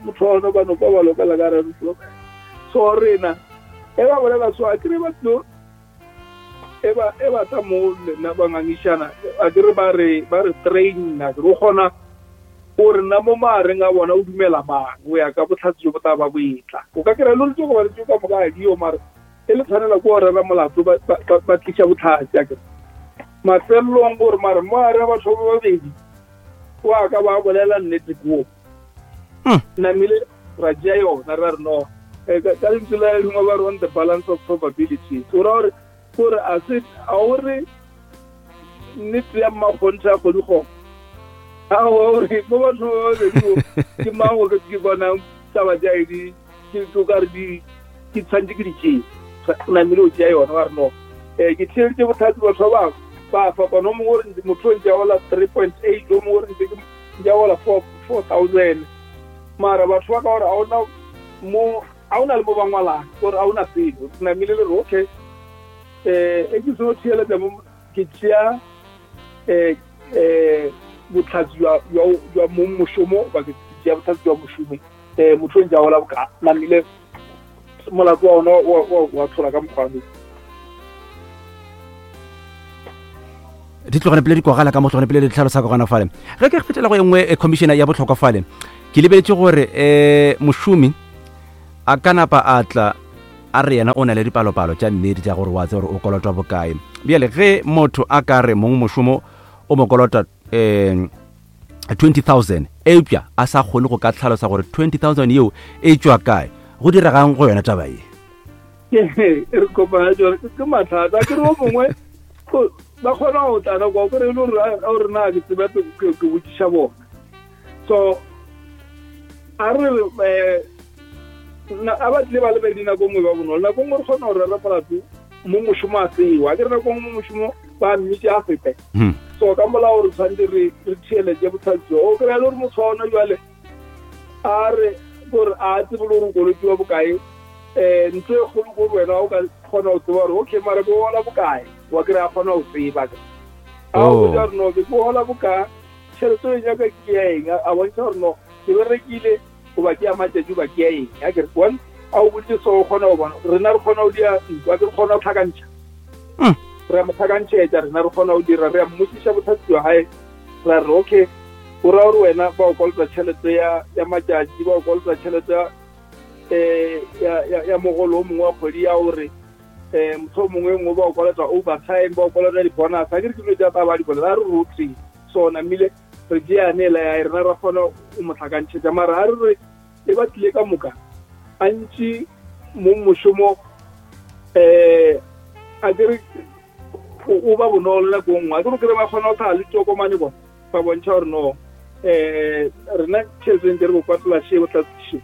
motho wa ona ba no kwa ba lokela ka re envelope. So rena e ba bolela so a kere ba tlo e ba e ba tla mo lena ba ngangišana a kere ba re ba re train na re kgona gore nna mo maareng a bona o dumela mang o ya ka botlhatsi jo bo tla ba boetla. O ka kry-a le tse go ba le tse ka moka a dio mare e le tshwanela ke go rera molato ba tliša botlhatsi a kere. Mafelelong gore mare mo are batho ba babedi o a ka ba bolela nnete koo. Namile ra tšea yona ra re no ka lentswe la lengwe ba re on the balance of probabilities. O ra gore gore a se a o re nnete ya mmakgonthe a kgodi go a gore mo batho ba babedi ke mang o ke bonang taba tša di ke o ka re di ke tshwanetse ke di tšee namile o tšea yona wa re no um ke theeleditše botlhatsi batho ba bangwe ba fapana o mongwe ore motho o ntse a ola three point eight o mongwe ore ntse ke a ola four four thousand mara batho ba ka gore a ona mo a ona le mo ba ngwalang gore a ona selo namile le re okay um e ke seno theeletša mo ke tšea um um botlhatsi jwa mong mošomo ba ke tšea botlhatsi jwa mošomi um motho o ntse a ola boka namile molato wa ona wa tlhola ka mokgwa. Di tlogane pele di kwagala ka mo tlogane pele di tlhalosa ka gona fale. Ge ke fetela go e nngwe commissioner ya botlhokwa fale ke lebeletse gore um mošomi a ka napa a tla a re yena o na le dipalopalo tša nnete tša gore wa tse gore o kolotwa bokae. Bjale ge motho a ka re mong mošomo o mo kolota um twenty thousand eupša a sa kgone go ka tlhalosa gore twenty thousand yeo e tšwa kae, go diregang go yona taba ye? E re kopana tsone ke mathata ke re o mongwe ba kgona go tlana kwa kore e le gore na ke tsebe ke botšiša bona. So a re um a ba tlile ba lebedi nako nngwe ba bonolo nako nngwe re kgona go rera molato mo mošomo a tsewa a ke re nako nngwe mo mošomo ba mmitše a fete. So ka molao re tshwanetse re re theeletše botlhatsi o kry-a le gore motho wa ona jale a re gore a tsebe le gore o kolotiwa bokae um ntho e kgolo kore wena o ka kgona go tseba gore okay mara ke ola bokae wa kry-a kgona go tseba a o botsa gore no ke ola bokae tšhelete o e nyaka ke ya eng a bontšha gore no ke berekile goba ke ya matšatši goba ke ya eng a kere one a o boditse so o kgona go bona rena re kgona go dia ntwa ke re kgona go tlhakantšha re a mo tlhakantšhetša rena re kgona go dira re a mmotsiša botlhatsi jwa gae ra re okay o raya gore wena ba o kolota tšhelete ya ya matšatši ba o kolota tšhelete ya um ya mogolo o mongwe wa kgwedi ya gore um motho o mongwe nngwe ba o kolota overtime ba o kolota di-bonus a ke re ke dilo tša taba di kolota a re rote so namile re tšeane la ya rena ra kgona go mo tlhakantšhetša mara a re re e ba tlile ka moka a ntši mo mošomo um a ke re o ba bonolo nako nngwe a ke re kry ba kgona go tlhaga le tokomane bona ba bontšha gore no um rena tšhelete ntse re bo patela še botlhatsi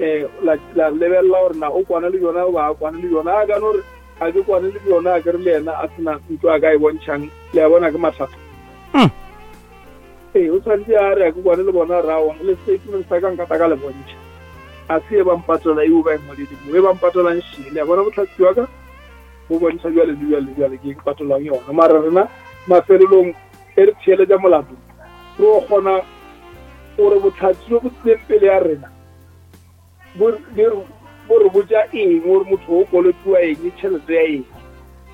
um la lebelela gore na o kwana le yona goba a kwane le yona a kane gore a ke kwane le yona a ke re le yena a sena ntlo a ka e bontšhang le a bona ke mathata. Ee o tshwanetse a re a ke kwane le bona raong le statement sa ka nkata ka le bontšha a se e ba mpatola eo ba e ngwadile mo e ba mpatolang šele a bona botlhatsi wa ka bo bontšha jwale le jwale jwale ke patolang yona mara rena mafelelong e re theeletša molato re o kgona gore bohlatse bjo bo tlileng pele ya rena bo re botša eng gore motho o kolotiwa eng tšhelete ya eng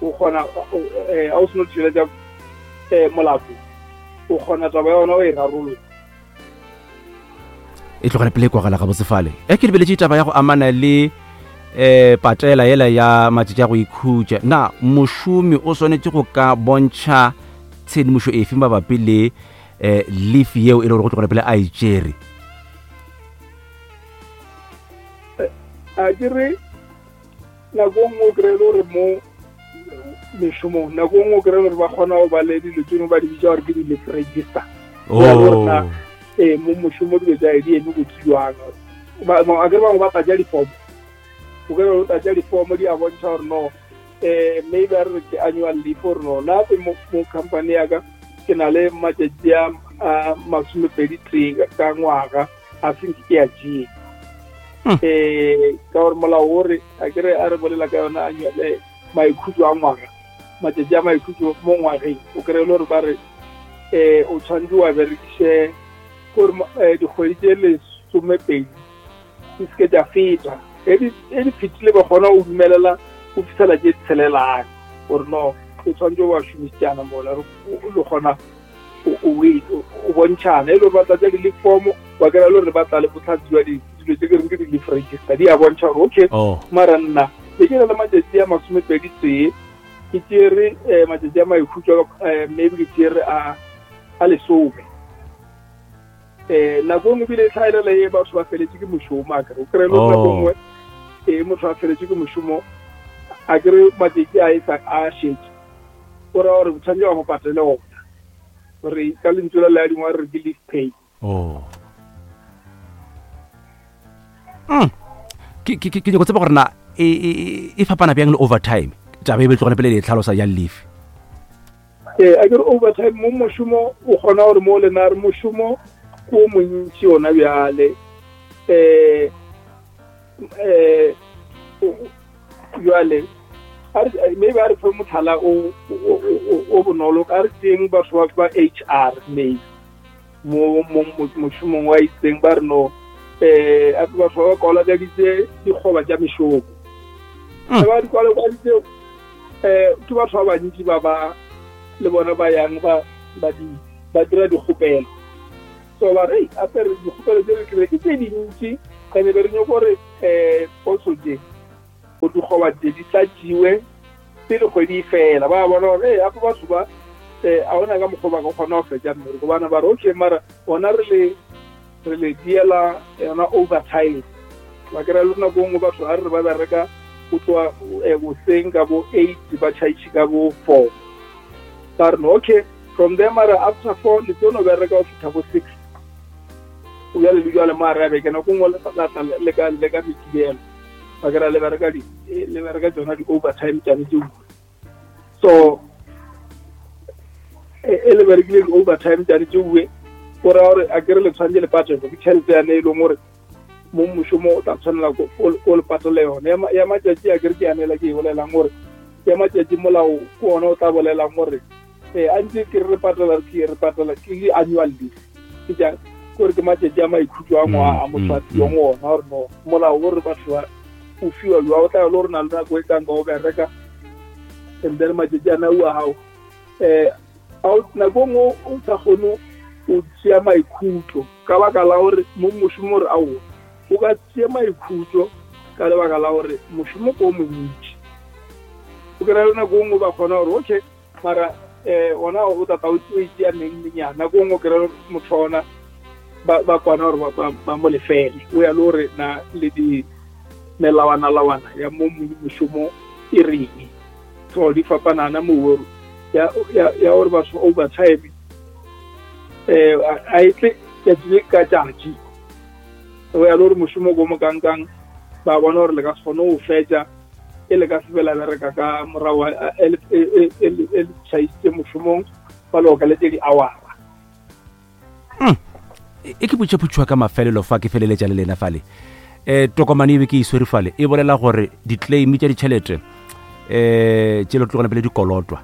o kgona a o seno theeletša molato o kgona taba ya ona o e rarolola e tlogela pele kwagala gabotse fale e ke lebeletše taba ya go amana le um patela yela ya matšatši a go ikhutša na mošomi o swanetše go ka bontšha tshedimošo efe mabapi le um leaf yeo e le gore go tlogela pele a e tšere a ke re nako nngwe o kry-e le gore mo mešomong nako nngwe o kry-e le gore ba kgona go ba le dilo tse dingwe ba di bitša gore ke di-leave register gore ee mo mošomo dilo tsa di eme botse jwang a kere bangwe ba tlatša difomo o kry o tlatša difomo di a bontšha gore no um maybe a re ke annual leave gore no nape mo company ya ka ke na le matšatši a masomepedi tee ka ngwaga a senke ke a tšee um ka gore molao o re a kere a re bolela ka yona annual maikhutšo a ngwaga matšatši a maikhutšo mo ngwageng o kry-e le gore ba re um o tshwanetse wa berekiše gore dikgwedi tše lesomepedi di seke tša feta e di fetile ba kgona go dumelela go fitlhela tše tshelelang gore no o tshwanetse wa šomišana mola le kgona o bontšhana e le gore ba tlatša di-leave form ba kry-a le gore ba tla le bohlatse jwa dilo tse ke reng ke di-leave register di a bontšha gore okay mara nna be ke na le matšatši a masomepedi tee ke tšere matšatši a maikhutšo maybe ke tšere a lesome um nako nngwe ebile e tlhaelela e batho ba feletse ke mošomo a kere o kry-e le nako nngwe e motho a feletse ke mošomo a kere matšatši a e sa a šetše o raya gore tshwanetse ba mo patele ona gore ka lentšu la le a dingwe re ke leave pay oh ke ke ke go tseba gore na e e fapana bjang le overtime taba e be tlogela pele le tlhalosa ya leave ee a kere overtime mo mošomo o kgona gore mo lena re mošomo ko montši ona bjale um um jwale maybe a re fe motlhala o o bonolo a re teng batho ba H R maybe mo mošomong wa itseng ba re no um batho ba kwalakaditse dikgoba tša mešomo ba di kwalakaditse um ke batho ba bantši ba ba le bona ba yang ba ba di ba dira dikgopelo so ba re ape re dikgopelo tse re kry ke tse dintši ene be re nyako gore um poso tše go dikgoba tše di tlatšiwe pele kgwedi e fela ba bona gore ee ape batho ba um a ona ka mokgwa ba ka kgona go fetša mmereko bana ba re okay mara ona re le re le diela yona overtime ba kry-a le nako nngwe batho a re ba bereka go tloa boseng ka bo eight ba tšhaiše ka bo four ba re no okay from there mara after four le tlo no bereka go fitlha bo six o bjale le jwale mo a re a beke nako nngwe le ka le ka mekibelo ba kry-a le bereka le bereka tsona di-overtime tšane tse so e le berekile di-overtime tšane tse uwe o raya gore a kere le tshwanetse le patelo ke tšhelete yane e leng gore mo mošomo o tla tshwanela o le patele yone ya matšatši a kere ke yanela ke e bolelang gore ya matšatši molao ke ona o tla bolelang gore um a ntse ke re re patela ke re patela ke annual leave ke jang gore ke matšatši a maikhutšo a ngwaga a motho a fiwang ona gore no molao o re batho ba o fiwa jwa o tla le gore na le nako e kang ka o bereka and then matšatši a nau a gago um nako nngwe o sa kgone o tšea maikhutšo ka baka la gore mo mošomo gore aowa o ka tšea maikhutšo ka lebaka la gore mošomo ke o montši o kry-a le nako nngwe ba kgona gore okay mara um ona o tata o itšea neng menyana nako nngwe o kry-a motho ona ba kwana gore ba mo lefele o ya le gore na le di melawana-lawana ya mo mošomo e reng so di fapanana mo ya ya gore batho overtime um a e tle tšatši le ka tšatši o ya le gore mošomo ko mo kankang ba bona gore le ka se kgone go fetša e le ka se bela bereka ka morago e le tšhaisitše mošomong ba le okaletse di-hour-a e ke botšaputšhwa ka mafelelo fa ke feleletša le lena fale um tokomane e be ke e swere fale e bolela gore di-claim tša ditšhelete um tše le tlogela pele di kolotwa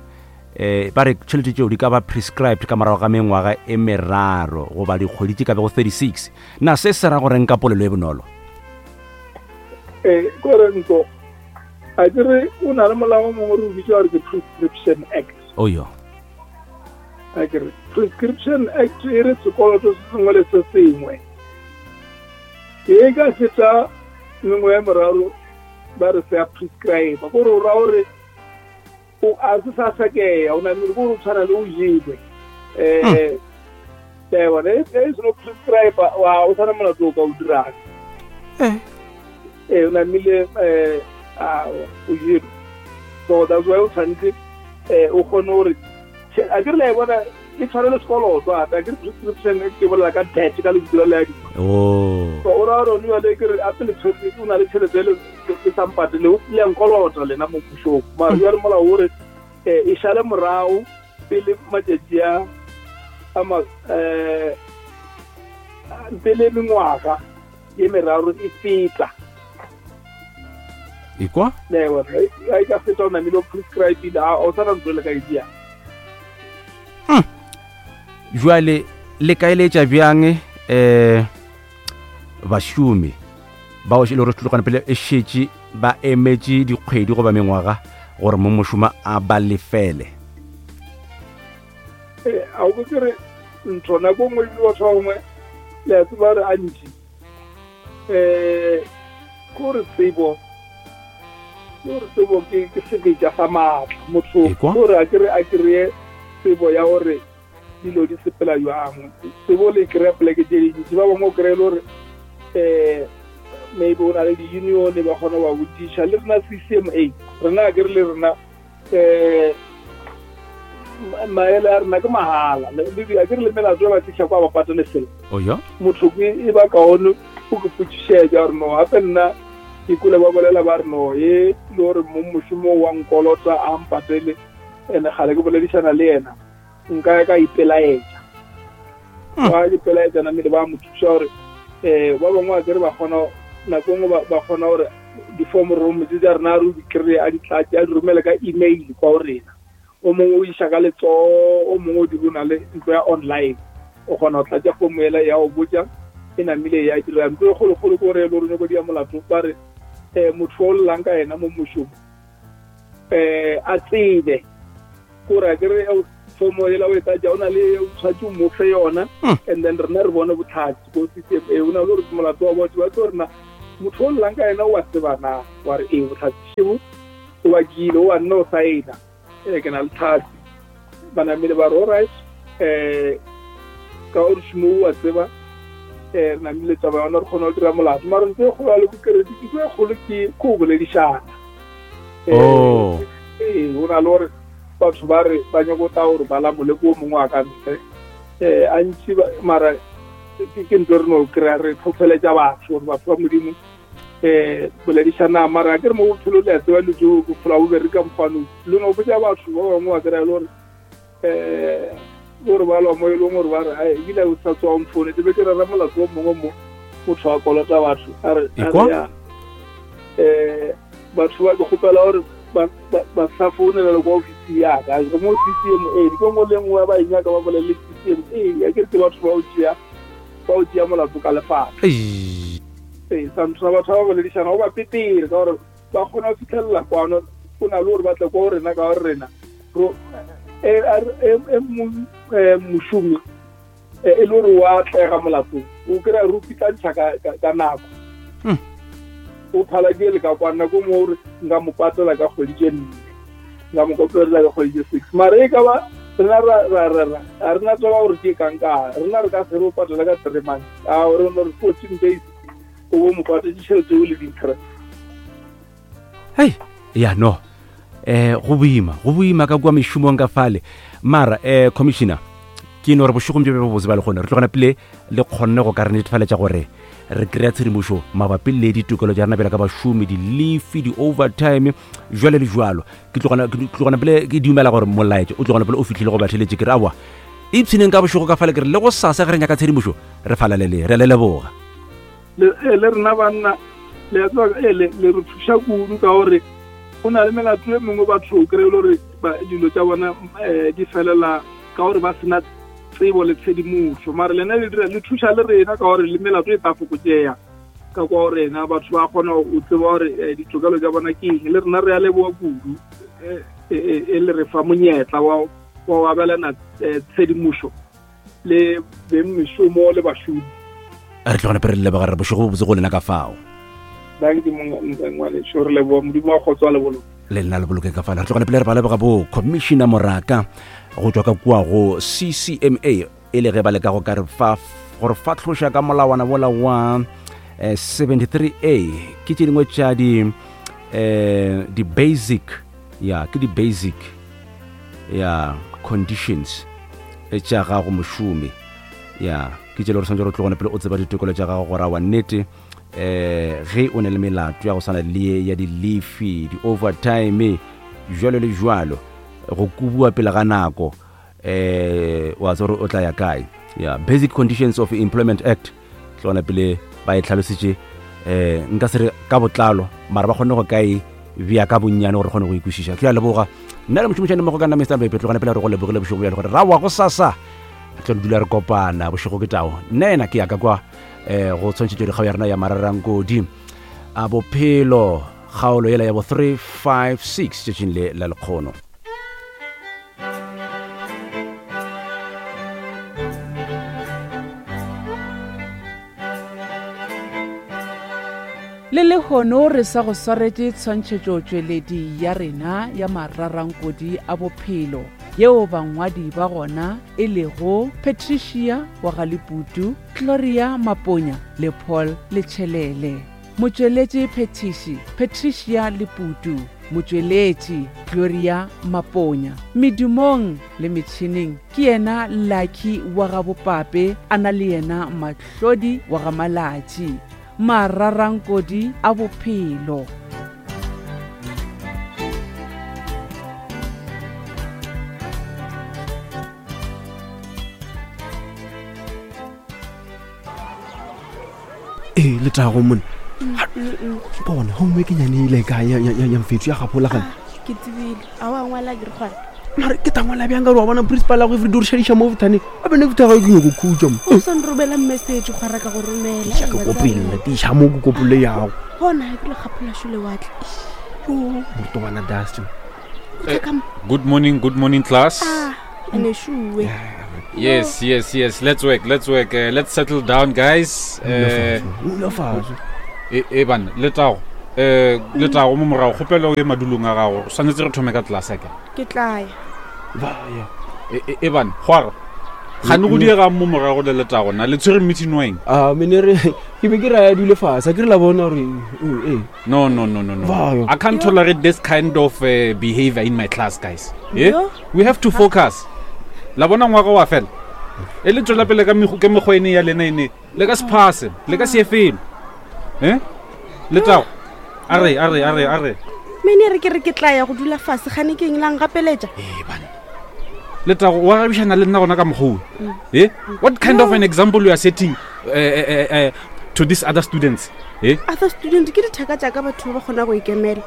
Eh ba re tšhelete tšeo di ka ba prescribed ka morago ga mengwaga e meraro goba dikgwedi tše ka bego thirty-six. Na se se ra gore nka polelo e bonolo? Eh kore nko a ke re o na le molao o mongwe re o bitsa gore ke Prescription Act. Oh yo. A ke re Prescription Act e re sekoloto se sengwe le se sengwe e ka feta mengwe ya meraro ba re se a prescribe, gore o ra gore o a se sa sakea o namile gore o tshwana le o jelwe um bona e seno prescribe wa o tshwana molato o ka o dirang ee o namile um o jelwe. So that's why o tshwanetse um o kgone gore a ke re la e bona e tshwane le sekoloto gape. A ke re prescription ke bolela ka debt ka lebitso la le oh so o ra gore jale ke re ape le tshwetse o na le tšhelete e le sa mpatele o tlile nkolota lena mo pušong, mara jale molao o re e šale morago pele matšatši a a um pele mengwaga ye meraro e feta. Ekwa le bona e ka feta o namile o prescribile a o sana ntho le ka e dia. Jwale le ka eletša bjang eh bašomi bao e le gore tlogana pele e šetše ba emetše dikgwedi goba mengwaga gore mo mošomo a ba lefele? Eh a o ke re ntho nako nngwe le batho ba bangwe le a tseba re antši um kore tsebo gore tsebo ke ke sebetša sa maatla motho gore a kere a kry-e tsebo ya gore dilo di sepela jwang. Tsebo le kry-a poleke tše dintši, ba bangwe o kry-e le gore um maybe o na le di-union ba kgona go ba botšiša. Le rena C C M A rena a kere le rena um maele a rena ke mahala, a kere le melato ba tliša kwa ba patele selo. Motho ke e ba kaone o ke potšišetša gore no gape nna ke kule ba bolela ba re no e le gore mo mošomo wa nkolota a mpatele ene gale ke boledišana le yena nka ya ka ipelaetša. Ba ipelaetša namele ba mo thuša gore um ba bangwe a kere ba kgona nako nngwe ba kgona gore di-form room tse tša rena re di kry-e a di tlatse a di romele ka email kwa go rena. O mongwe o iša ka letsogo, o mongwe o di o na le ntlo ya online o kgona go tlatša fomo ela ya go botša e namile ya dira. Ntlo e kgolokgolo ke gore e le gore nyako dia molato ba re um motho o llang ka yena mo mošomo um a tsebe kore a kere fomo ela o e tlatša o na le o tshwatse o mo fe yona and then rena re bone botlhatsi ko C C M A. O na le gore molato wa batho ba tlo rena motho o llang ka yena o a tseba na wa re ee botlhatsi šebo o bakile o wa nna o saena ee ke na le tlhatsi. Ba namile ba re alright um ka gore šomo o a tseba um re namile taba yona re kgona go dira molato. Mara ntho e kgolo ya le bokeredi ntho e kgolo ke ko boledišana. Ee o na le gore batho ba re ba nyako tla gore ba lamole ko mongwe a ka ntle um a ntši mara ke ntho re no kry-a re tlhotlheletša batho gore batho ba Modimo um boledišana. Mara a ke re mo bophelo le a tseba dilo tseo bophelo bo bereka mokgwanong le no botša batho ba bangwe ba kry-a le gore um gore ba lwa mo e leng gore ba re ae ebile o sa tswa mfoune be ke rera molato o mongwe mo motho a kolota batho a re ya um batho ba ke kgopela gore ba sa founela le kwa ofisi ya ka re mo C C M A ke nngwe le nngwe ba e nyaka ba bolele C C M A a ke re ke batho ba o tšea ba o tšea molato ka lefapha. Ee sa ntho batho ba boledišana go ba petere ka gore ba kgona go fitlhelela kwano o na le gore ba tle kwa go rena ka gore rena e mošomi e le gore wa tlega molatong o kry-a re o pitlantšha ka nako o phala ke le ka kwa nako mo gore nka mo patela ka kgwedi tše nne nka mo kopela ka kgwedi tše six mara e ka ba rena a rena tseba gore ke kang-kang rena re ka se re o patela ka three months a re no re fourteen days o bo mo patetse tšhelete o le di-interest. Hei ya no eh go boima go boima ka kua mešomong ka fale. Mara eh commissioner ke no re bošegong bjo bjo botse ba le kgone re tlogana pele le kgonne go ka re netefaletša gore re kry-a tshedimošo mabapi le ditokelo tša rena bjalo ka bašomi, di-leave, di-overtime jwale le jwalo. Ke tlogana pele ke dumela gore molaetša o tlogana pele o fitlhile go batheletše ke re aowa ipshineng ka bošego ka fale ke re le go sasa ge re nyaka tshedimošo re falalele re a le leboga. Le rena banna le a tseba le re thuša kudu ka gore Go na le melato e mengwe batho o kry-e le gore dilo tša bona di felela ka gore ba sena tsebo le tshedimošo, mare lena le dira le thuša le rena ka gore le melato e tla fokotšea ka kwa rena, batho ba kgona go tseba gore ditokelo tša bona ke eng. Le rena re a leboa kudu e le re fa monyetla wa wa abelana tshedimošo le beng mešomo le bašomi. Re tlogane pele re leboga re bošego bo botse go lena ka fao. Danke mongwe re leboga Modimo wa kgotso a le boloke. Le lena le boloke ka fao. Re tlogane pele re ba leboga bo Commissioner Moraka go tswa ka kua go C C M A e le ge ba leka go ka re fa gore fatlhoša ka molawana wola wa seventy-three A ke tše dingwe tša di eh di basic ya ke di basic ya conditions tša gago mošomi ya ke tše le gore santse re tlogone pele o tseba ditokelo tša gago gore wa nnete eh ge o ne le melato ya go swana le ya di-leafe di-overtime jwalo le jwalo go kubua pele ga nako eh wa tsore o tla ya kae ya Basic Conditions of Employment Act tlogone pele ba e tlhalositše eh nka se re ka botlalo mara ba kgone go kae bia ka bonnyane gore kgone go ikwešiša. Ke a leboga nna le mošomišane mmogo ka nna Mister Mpepe, tlogane pele re go lebogile bošego bjale gore ra wa go sasa re tlo dula re kopana bošego ke tao. Nna ena ke ya ka kwa eh go tshwantšhetšo dikgao ya rena ya Mararankodi a bophelo kgaolo yela ya bo three five six tšatšing le la lekgono. Le lehono re sa go swaretše tshwantšhetšo tšweledi ya rena ya Mararankodi a bophelo yeo bangwadi ba gona e lego Patricia wa ga Leputu, Gloria Maponya le Paul Letšhelele. Motšweletši phetiši Patricia Leputu, motšweletši Gloria Maponya. Medumong le metšhineng ke yena Lucky wa ga Bopape, a na le yena Mahlodi wa ga Malatši. Mararankodi a bophelo. Ee letago mone bona homework e nyane ile kae ya mfetso ya gapola gane ke tsebile a wa ngwala ke re gwana mare ke tangwala bjang ka gore wa bona principal ya go everyday o re šadiša mo bothaneng a bene ke thaga ke nyako khutša mo o sa nromela message gwa reka go romela ke kopele tiša mo ke kopole yago bona ke le gapola šole watle yo morutobana Dustin. Good morning, good morning class. Ah, ene shuwe. Yes, yes, yes. Let's work, let's work. Uh, let's settle down guys. Eh e bana letago eh letago mo morago kgopelo o ye madulong a gago swanetse re thome ka tlase ka ke tla ya ba ya e bana gwara gane go diega mo morago le letago na le tshwere meeting weng a mene re ke be ke ra ya dule fase ke re la bona gore eh no no no no no I can't tolerate this kind of uh, behavior in my class guys. Eh? We have to focus. La bona ngwaga wa fela e le tswela pele ka ke mekgwa ene ya lena ene le ka se phase le ka se efelo eh letago a re a re a re a re mene re ke re ke tla ya go dula fase gane ke eng lang gapeletša eh bana letago wa rabišana le nna gona ka mokgwa eh what kind of an example you are setting uh, uh, uh, to these other students eh other student ke dithaka tša ka batho ba kgona go ikemela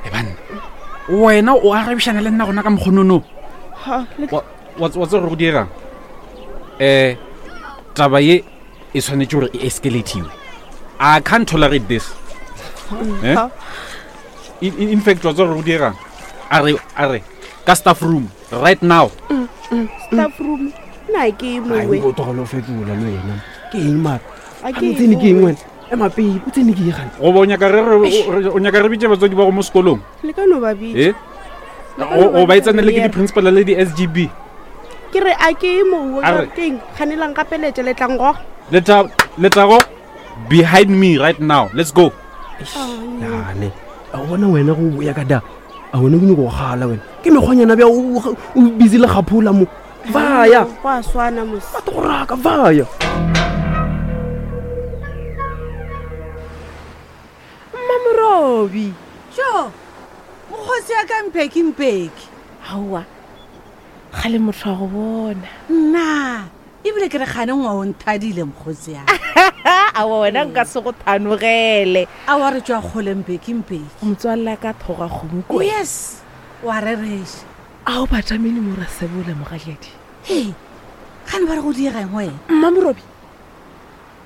eh bana wena o arabišana le nna gona ka mokgonono ha wa wa tse go dirang eh taba ye e tshwanetse gore e escalatiwe. I can't tolerate this. Eh? In, in, in fact, wa tse go dirang a re a re ka staff room right now. Mm, mm, staff room na ke mongwe o togolo fetola le wena ke eng mara a ke tsene ke eng wena ema pele o tsene ke eng gane go bo nyaka re o nyaka re bitse batswadi ba go mo sekolong le ka no ba bitse eh o ba itsane le ke di principal le di S G B ke re a ke mongwe ka teng ganelang gapeletše le tlang go leta letago behind me right now let's go yane a bona wena go boya ka da a wena ke nyako go gala wena ke mekgwanyana bja o busy le gapola mo vaya go a swana mos batho go raka vaya Mmamorobi jo mokgosi ya ka mpeki mpeki aowa ga le motho wa go bona nna ebile ke re gane ngwa o nthadile mokgosi ya Awa wena nka se go thanogele. Awa re tswa kgole mpeki mpeki. Motswalle ka thoga kgomo ko. Yes. Wa rereša. A o batamene mo rasebola mogadiadi. Hei, gane ba re go diega eng wena? Mmamorobi.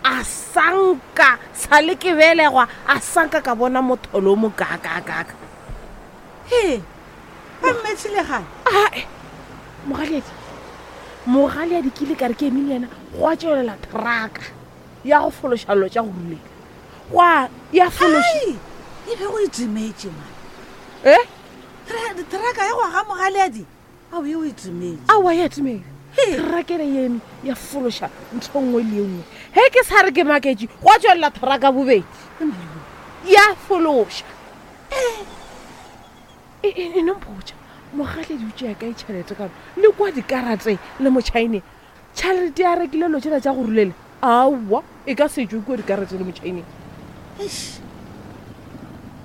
A sanka sa le ke belegwa a sanka ka bona motholo o mo kakakaka. He, ba mmethile gane? Ae, mogadiadi. Mogadiadi ke ile ka re ke emile yena go a tšwelela traka ya go fološa dilo tša go rulela. Gwa ya fološa. Ai, e be go e timetše man. Eh? Tra- Traka ya go aga mogaleadi ao e o e timetše. Aowa ya timela. Traka ena ye eme ya fološa ntho nngwe le ye nngwe. He ke sa re ke maketše go a tšwelela traka bobedi. Ya fološa. E e e no mpotša mogaleadi o tšea kae tšhelete ka le kwa dikarate le motšhaene. Tšhelete ya rekile dilo tšela tša go rulela. Aowa e ka se tšwe kua dikarate le motšhaeneng. Eish.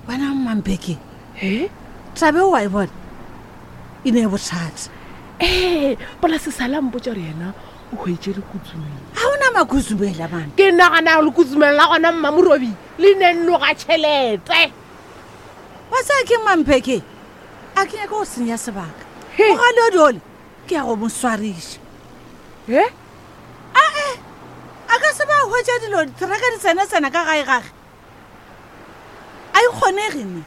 Wena Mmampeke. He? Taba eo wa e bona e ne e bothata. Ee, polase sa la mpotša gore yena o hwetše lekutsumeng. Ga ona makutsumela bana. Ke nagana lekutsumeng la gona Mmamorobi le ne nnoga tšhelete. Wa tsaya ke Mmampeke. A ke nyaka go senya sebaka. He. Mogaleadi ole ke ya go mo swariša. He? Ae, a ka se ba hwetša dilo diteraka di tsena-tsena ka gae gage. A e kgonege ne.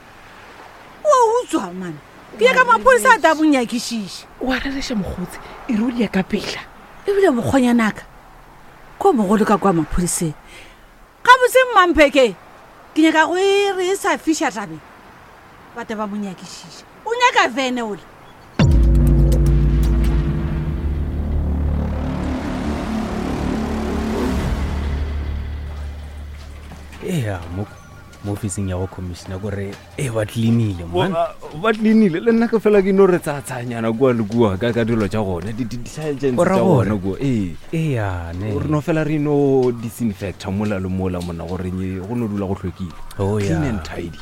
O utswa man. Ke nyaka maphodisa a tla mo nyakišiša. Wa rereša mokgotsi e re o dia ka pela. Ebile mokgonyanaka ko mogolo ka kwa maphodiseng. Gabotse Mmampeke ke nyaka go e re e sa fiša tabeng. Ba tle ba mo nyakišiša. O nyaka vene ole. Ea, mo mo ofising ya go commissioner kore e ba cleanile man. Ba ba cleanile le nna ke fela ke no re tsatsanyana kua le kua ka ka dilo tša gona di di di-sergeants O ra tša gore? gona kua ee. Ea, ne. Re no fela re no disinfecta mola le mola mona gore nye go no dula go hlwekile. Oh, Clean yeah. and tidy.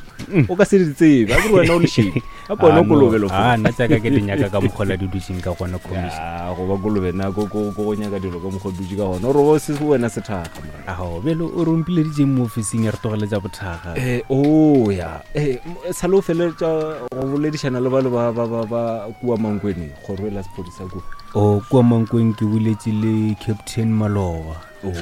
O ka se di tsebe, a ke re wena o lešedi. Gape wena o kolobe lo Ah, nna tsaka ke di nyaka ka mokgwa la di dutseng ka gona commissioner. Ya, go ba kolobe nna ko ko ko go nyaka dilo ka mokgwa o dutse ka gona. Ore bo se wena sethaga mora. Ao, bjale o re ompileditseng mo ofising ya re tlogeletša bothaga. Eh, oh ya. Eh, m- sa le o feleletša go boledišana le ba le ba ba ba ba kua Mankweng, kgoro e la sephodisa kua. O kua Mankweng ke boletše le Captain Maloba. Oh.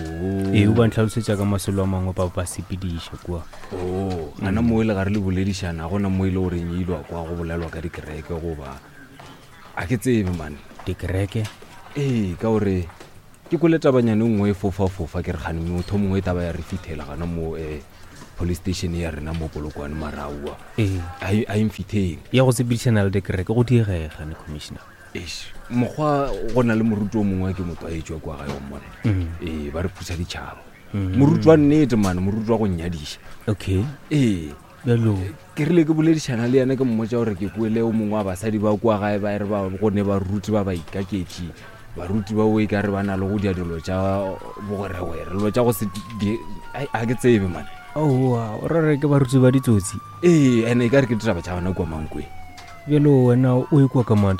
Ee, o ba ntlhalosetša ka masolo a mangwe ba ba sepediša kua. Oh, ana mo e le gare le boledišana, ga gona mo e le goreng e ilwa kwa go bolelwa ka dikereke goba a ke tsebe man. Dikereke? Ee, ka gore ke kwele tabanyane e nngwe e fofa-fofa ke re gane motho mongwe e taba ya re fithela gana mo eh, police station ya rena mo Polokwane maraua. Ee. A e- a e mfitheng. Ya go sepedišana le dikereke go diegega ne commissioner. Eish, mokgwa go na le moruti o mongwe ke motho a etswa kwa gae wa mmona. Mm. Ee, ba re phusa ditšhaba. Mm. Moruti wa nnete man, moruti wa go nnyadiša. Okay. Ee. Bjalo. Ke rile ke boledišana le yena ke mmotša gore ke kwele o mongwe wa basadi ba kwa gae ba re ba go ne baruti ba ba ikaketše. Baruti ba o e ka re ba na le go dia dilo tša bogweregwere, dilo tša go se di, ai, a ke tsebe man. Aowa, o ra re ke baruti ba ditsotsi. Ee, ene e ka re ke ditaba tša gona kua Mankweng. Bjalo wena o e kwa ka maatla.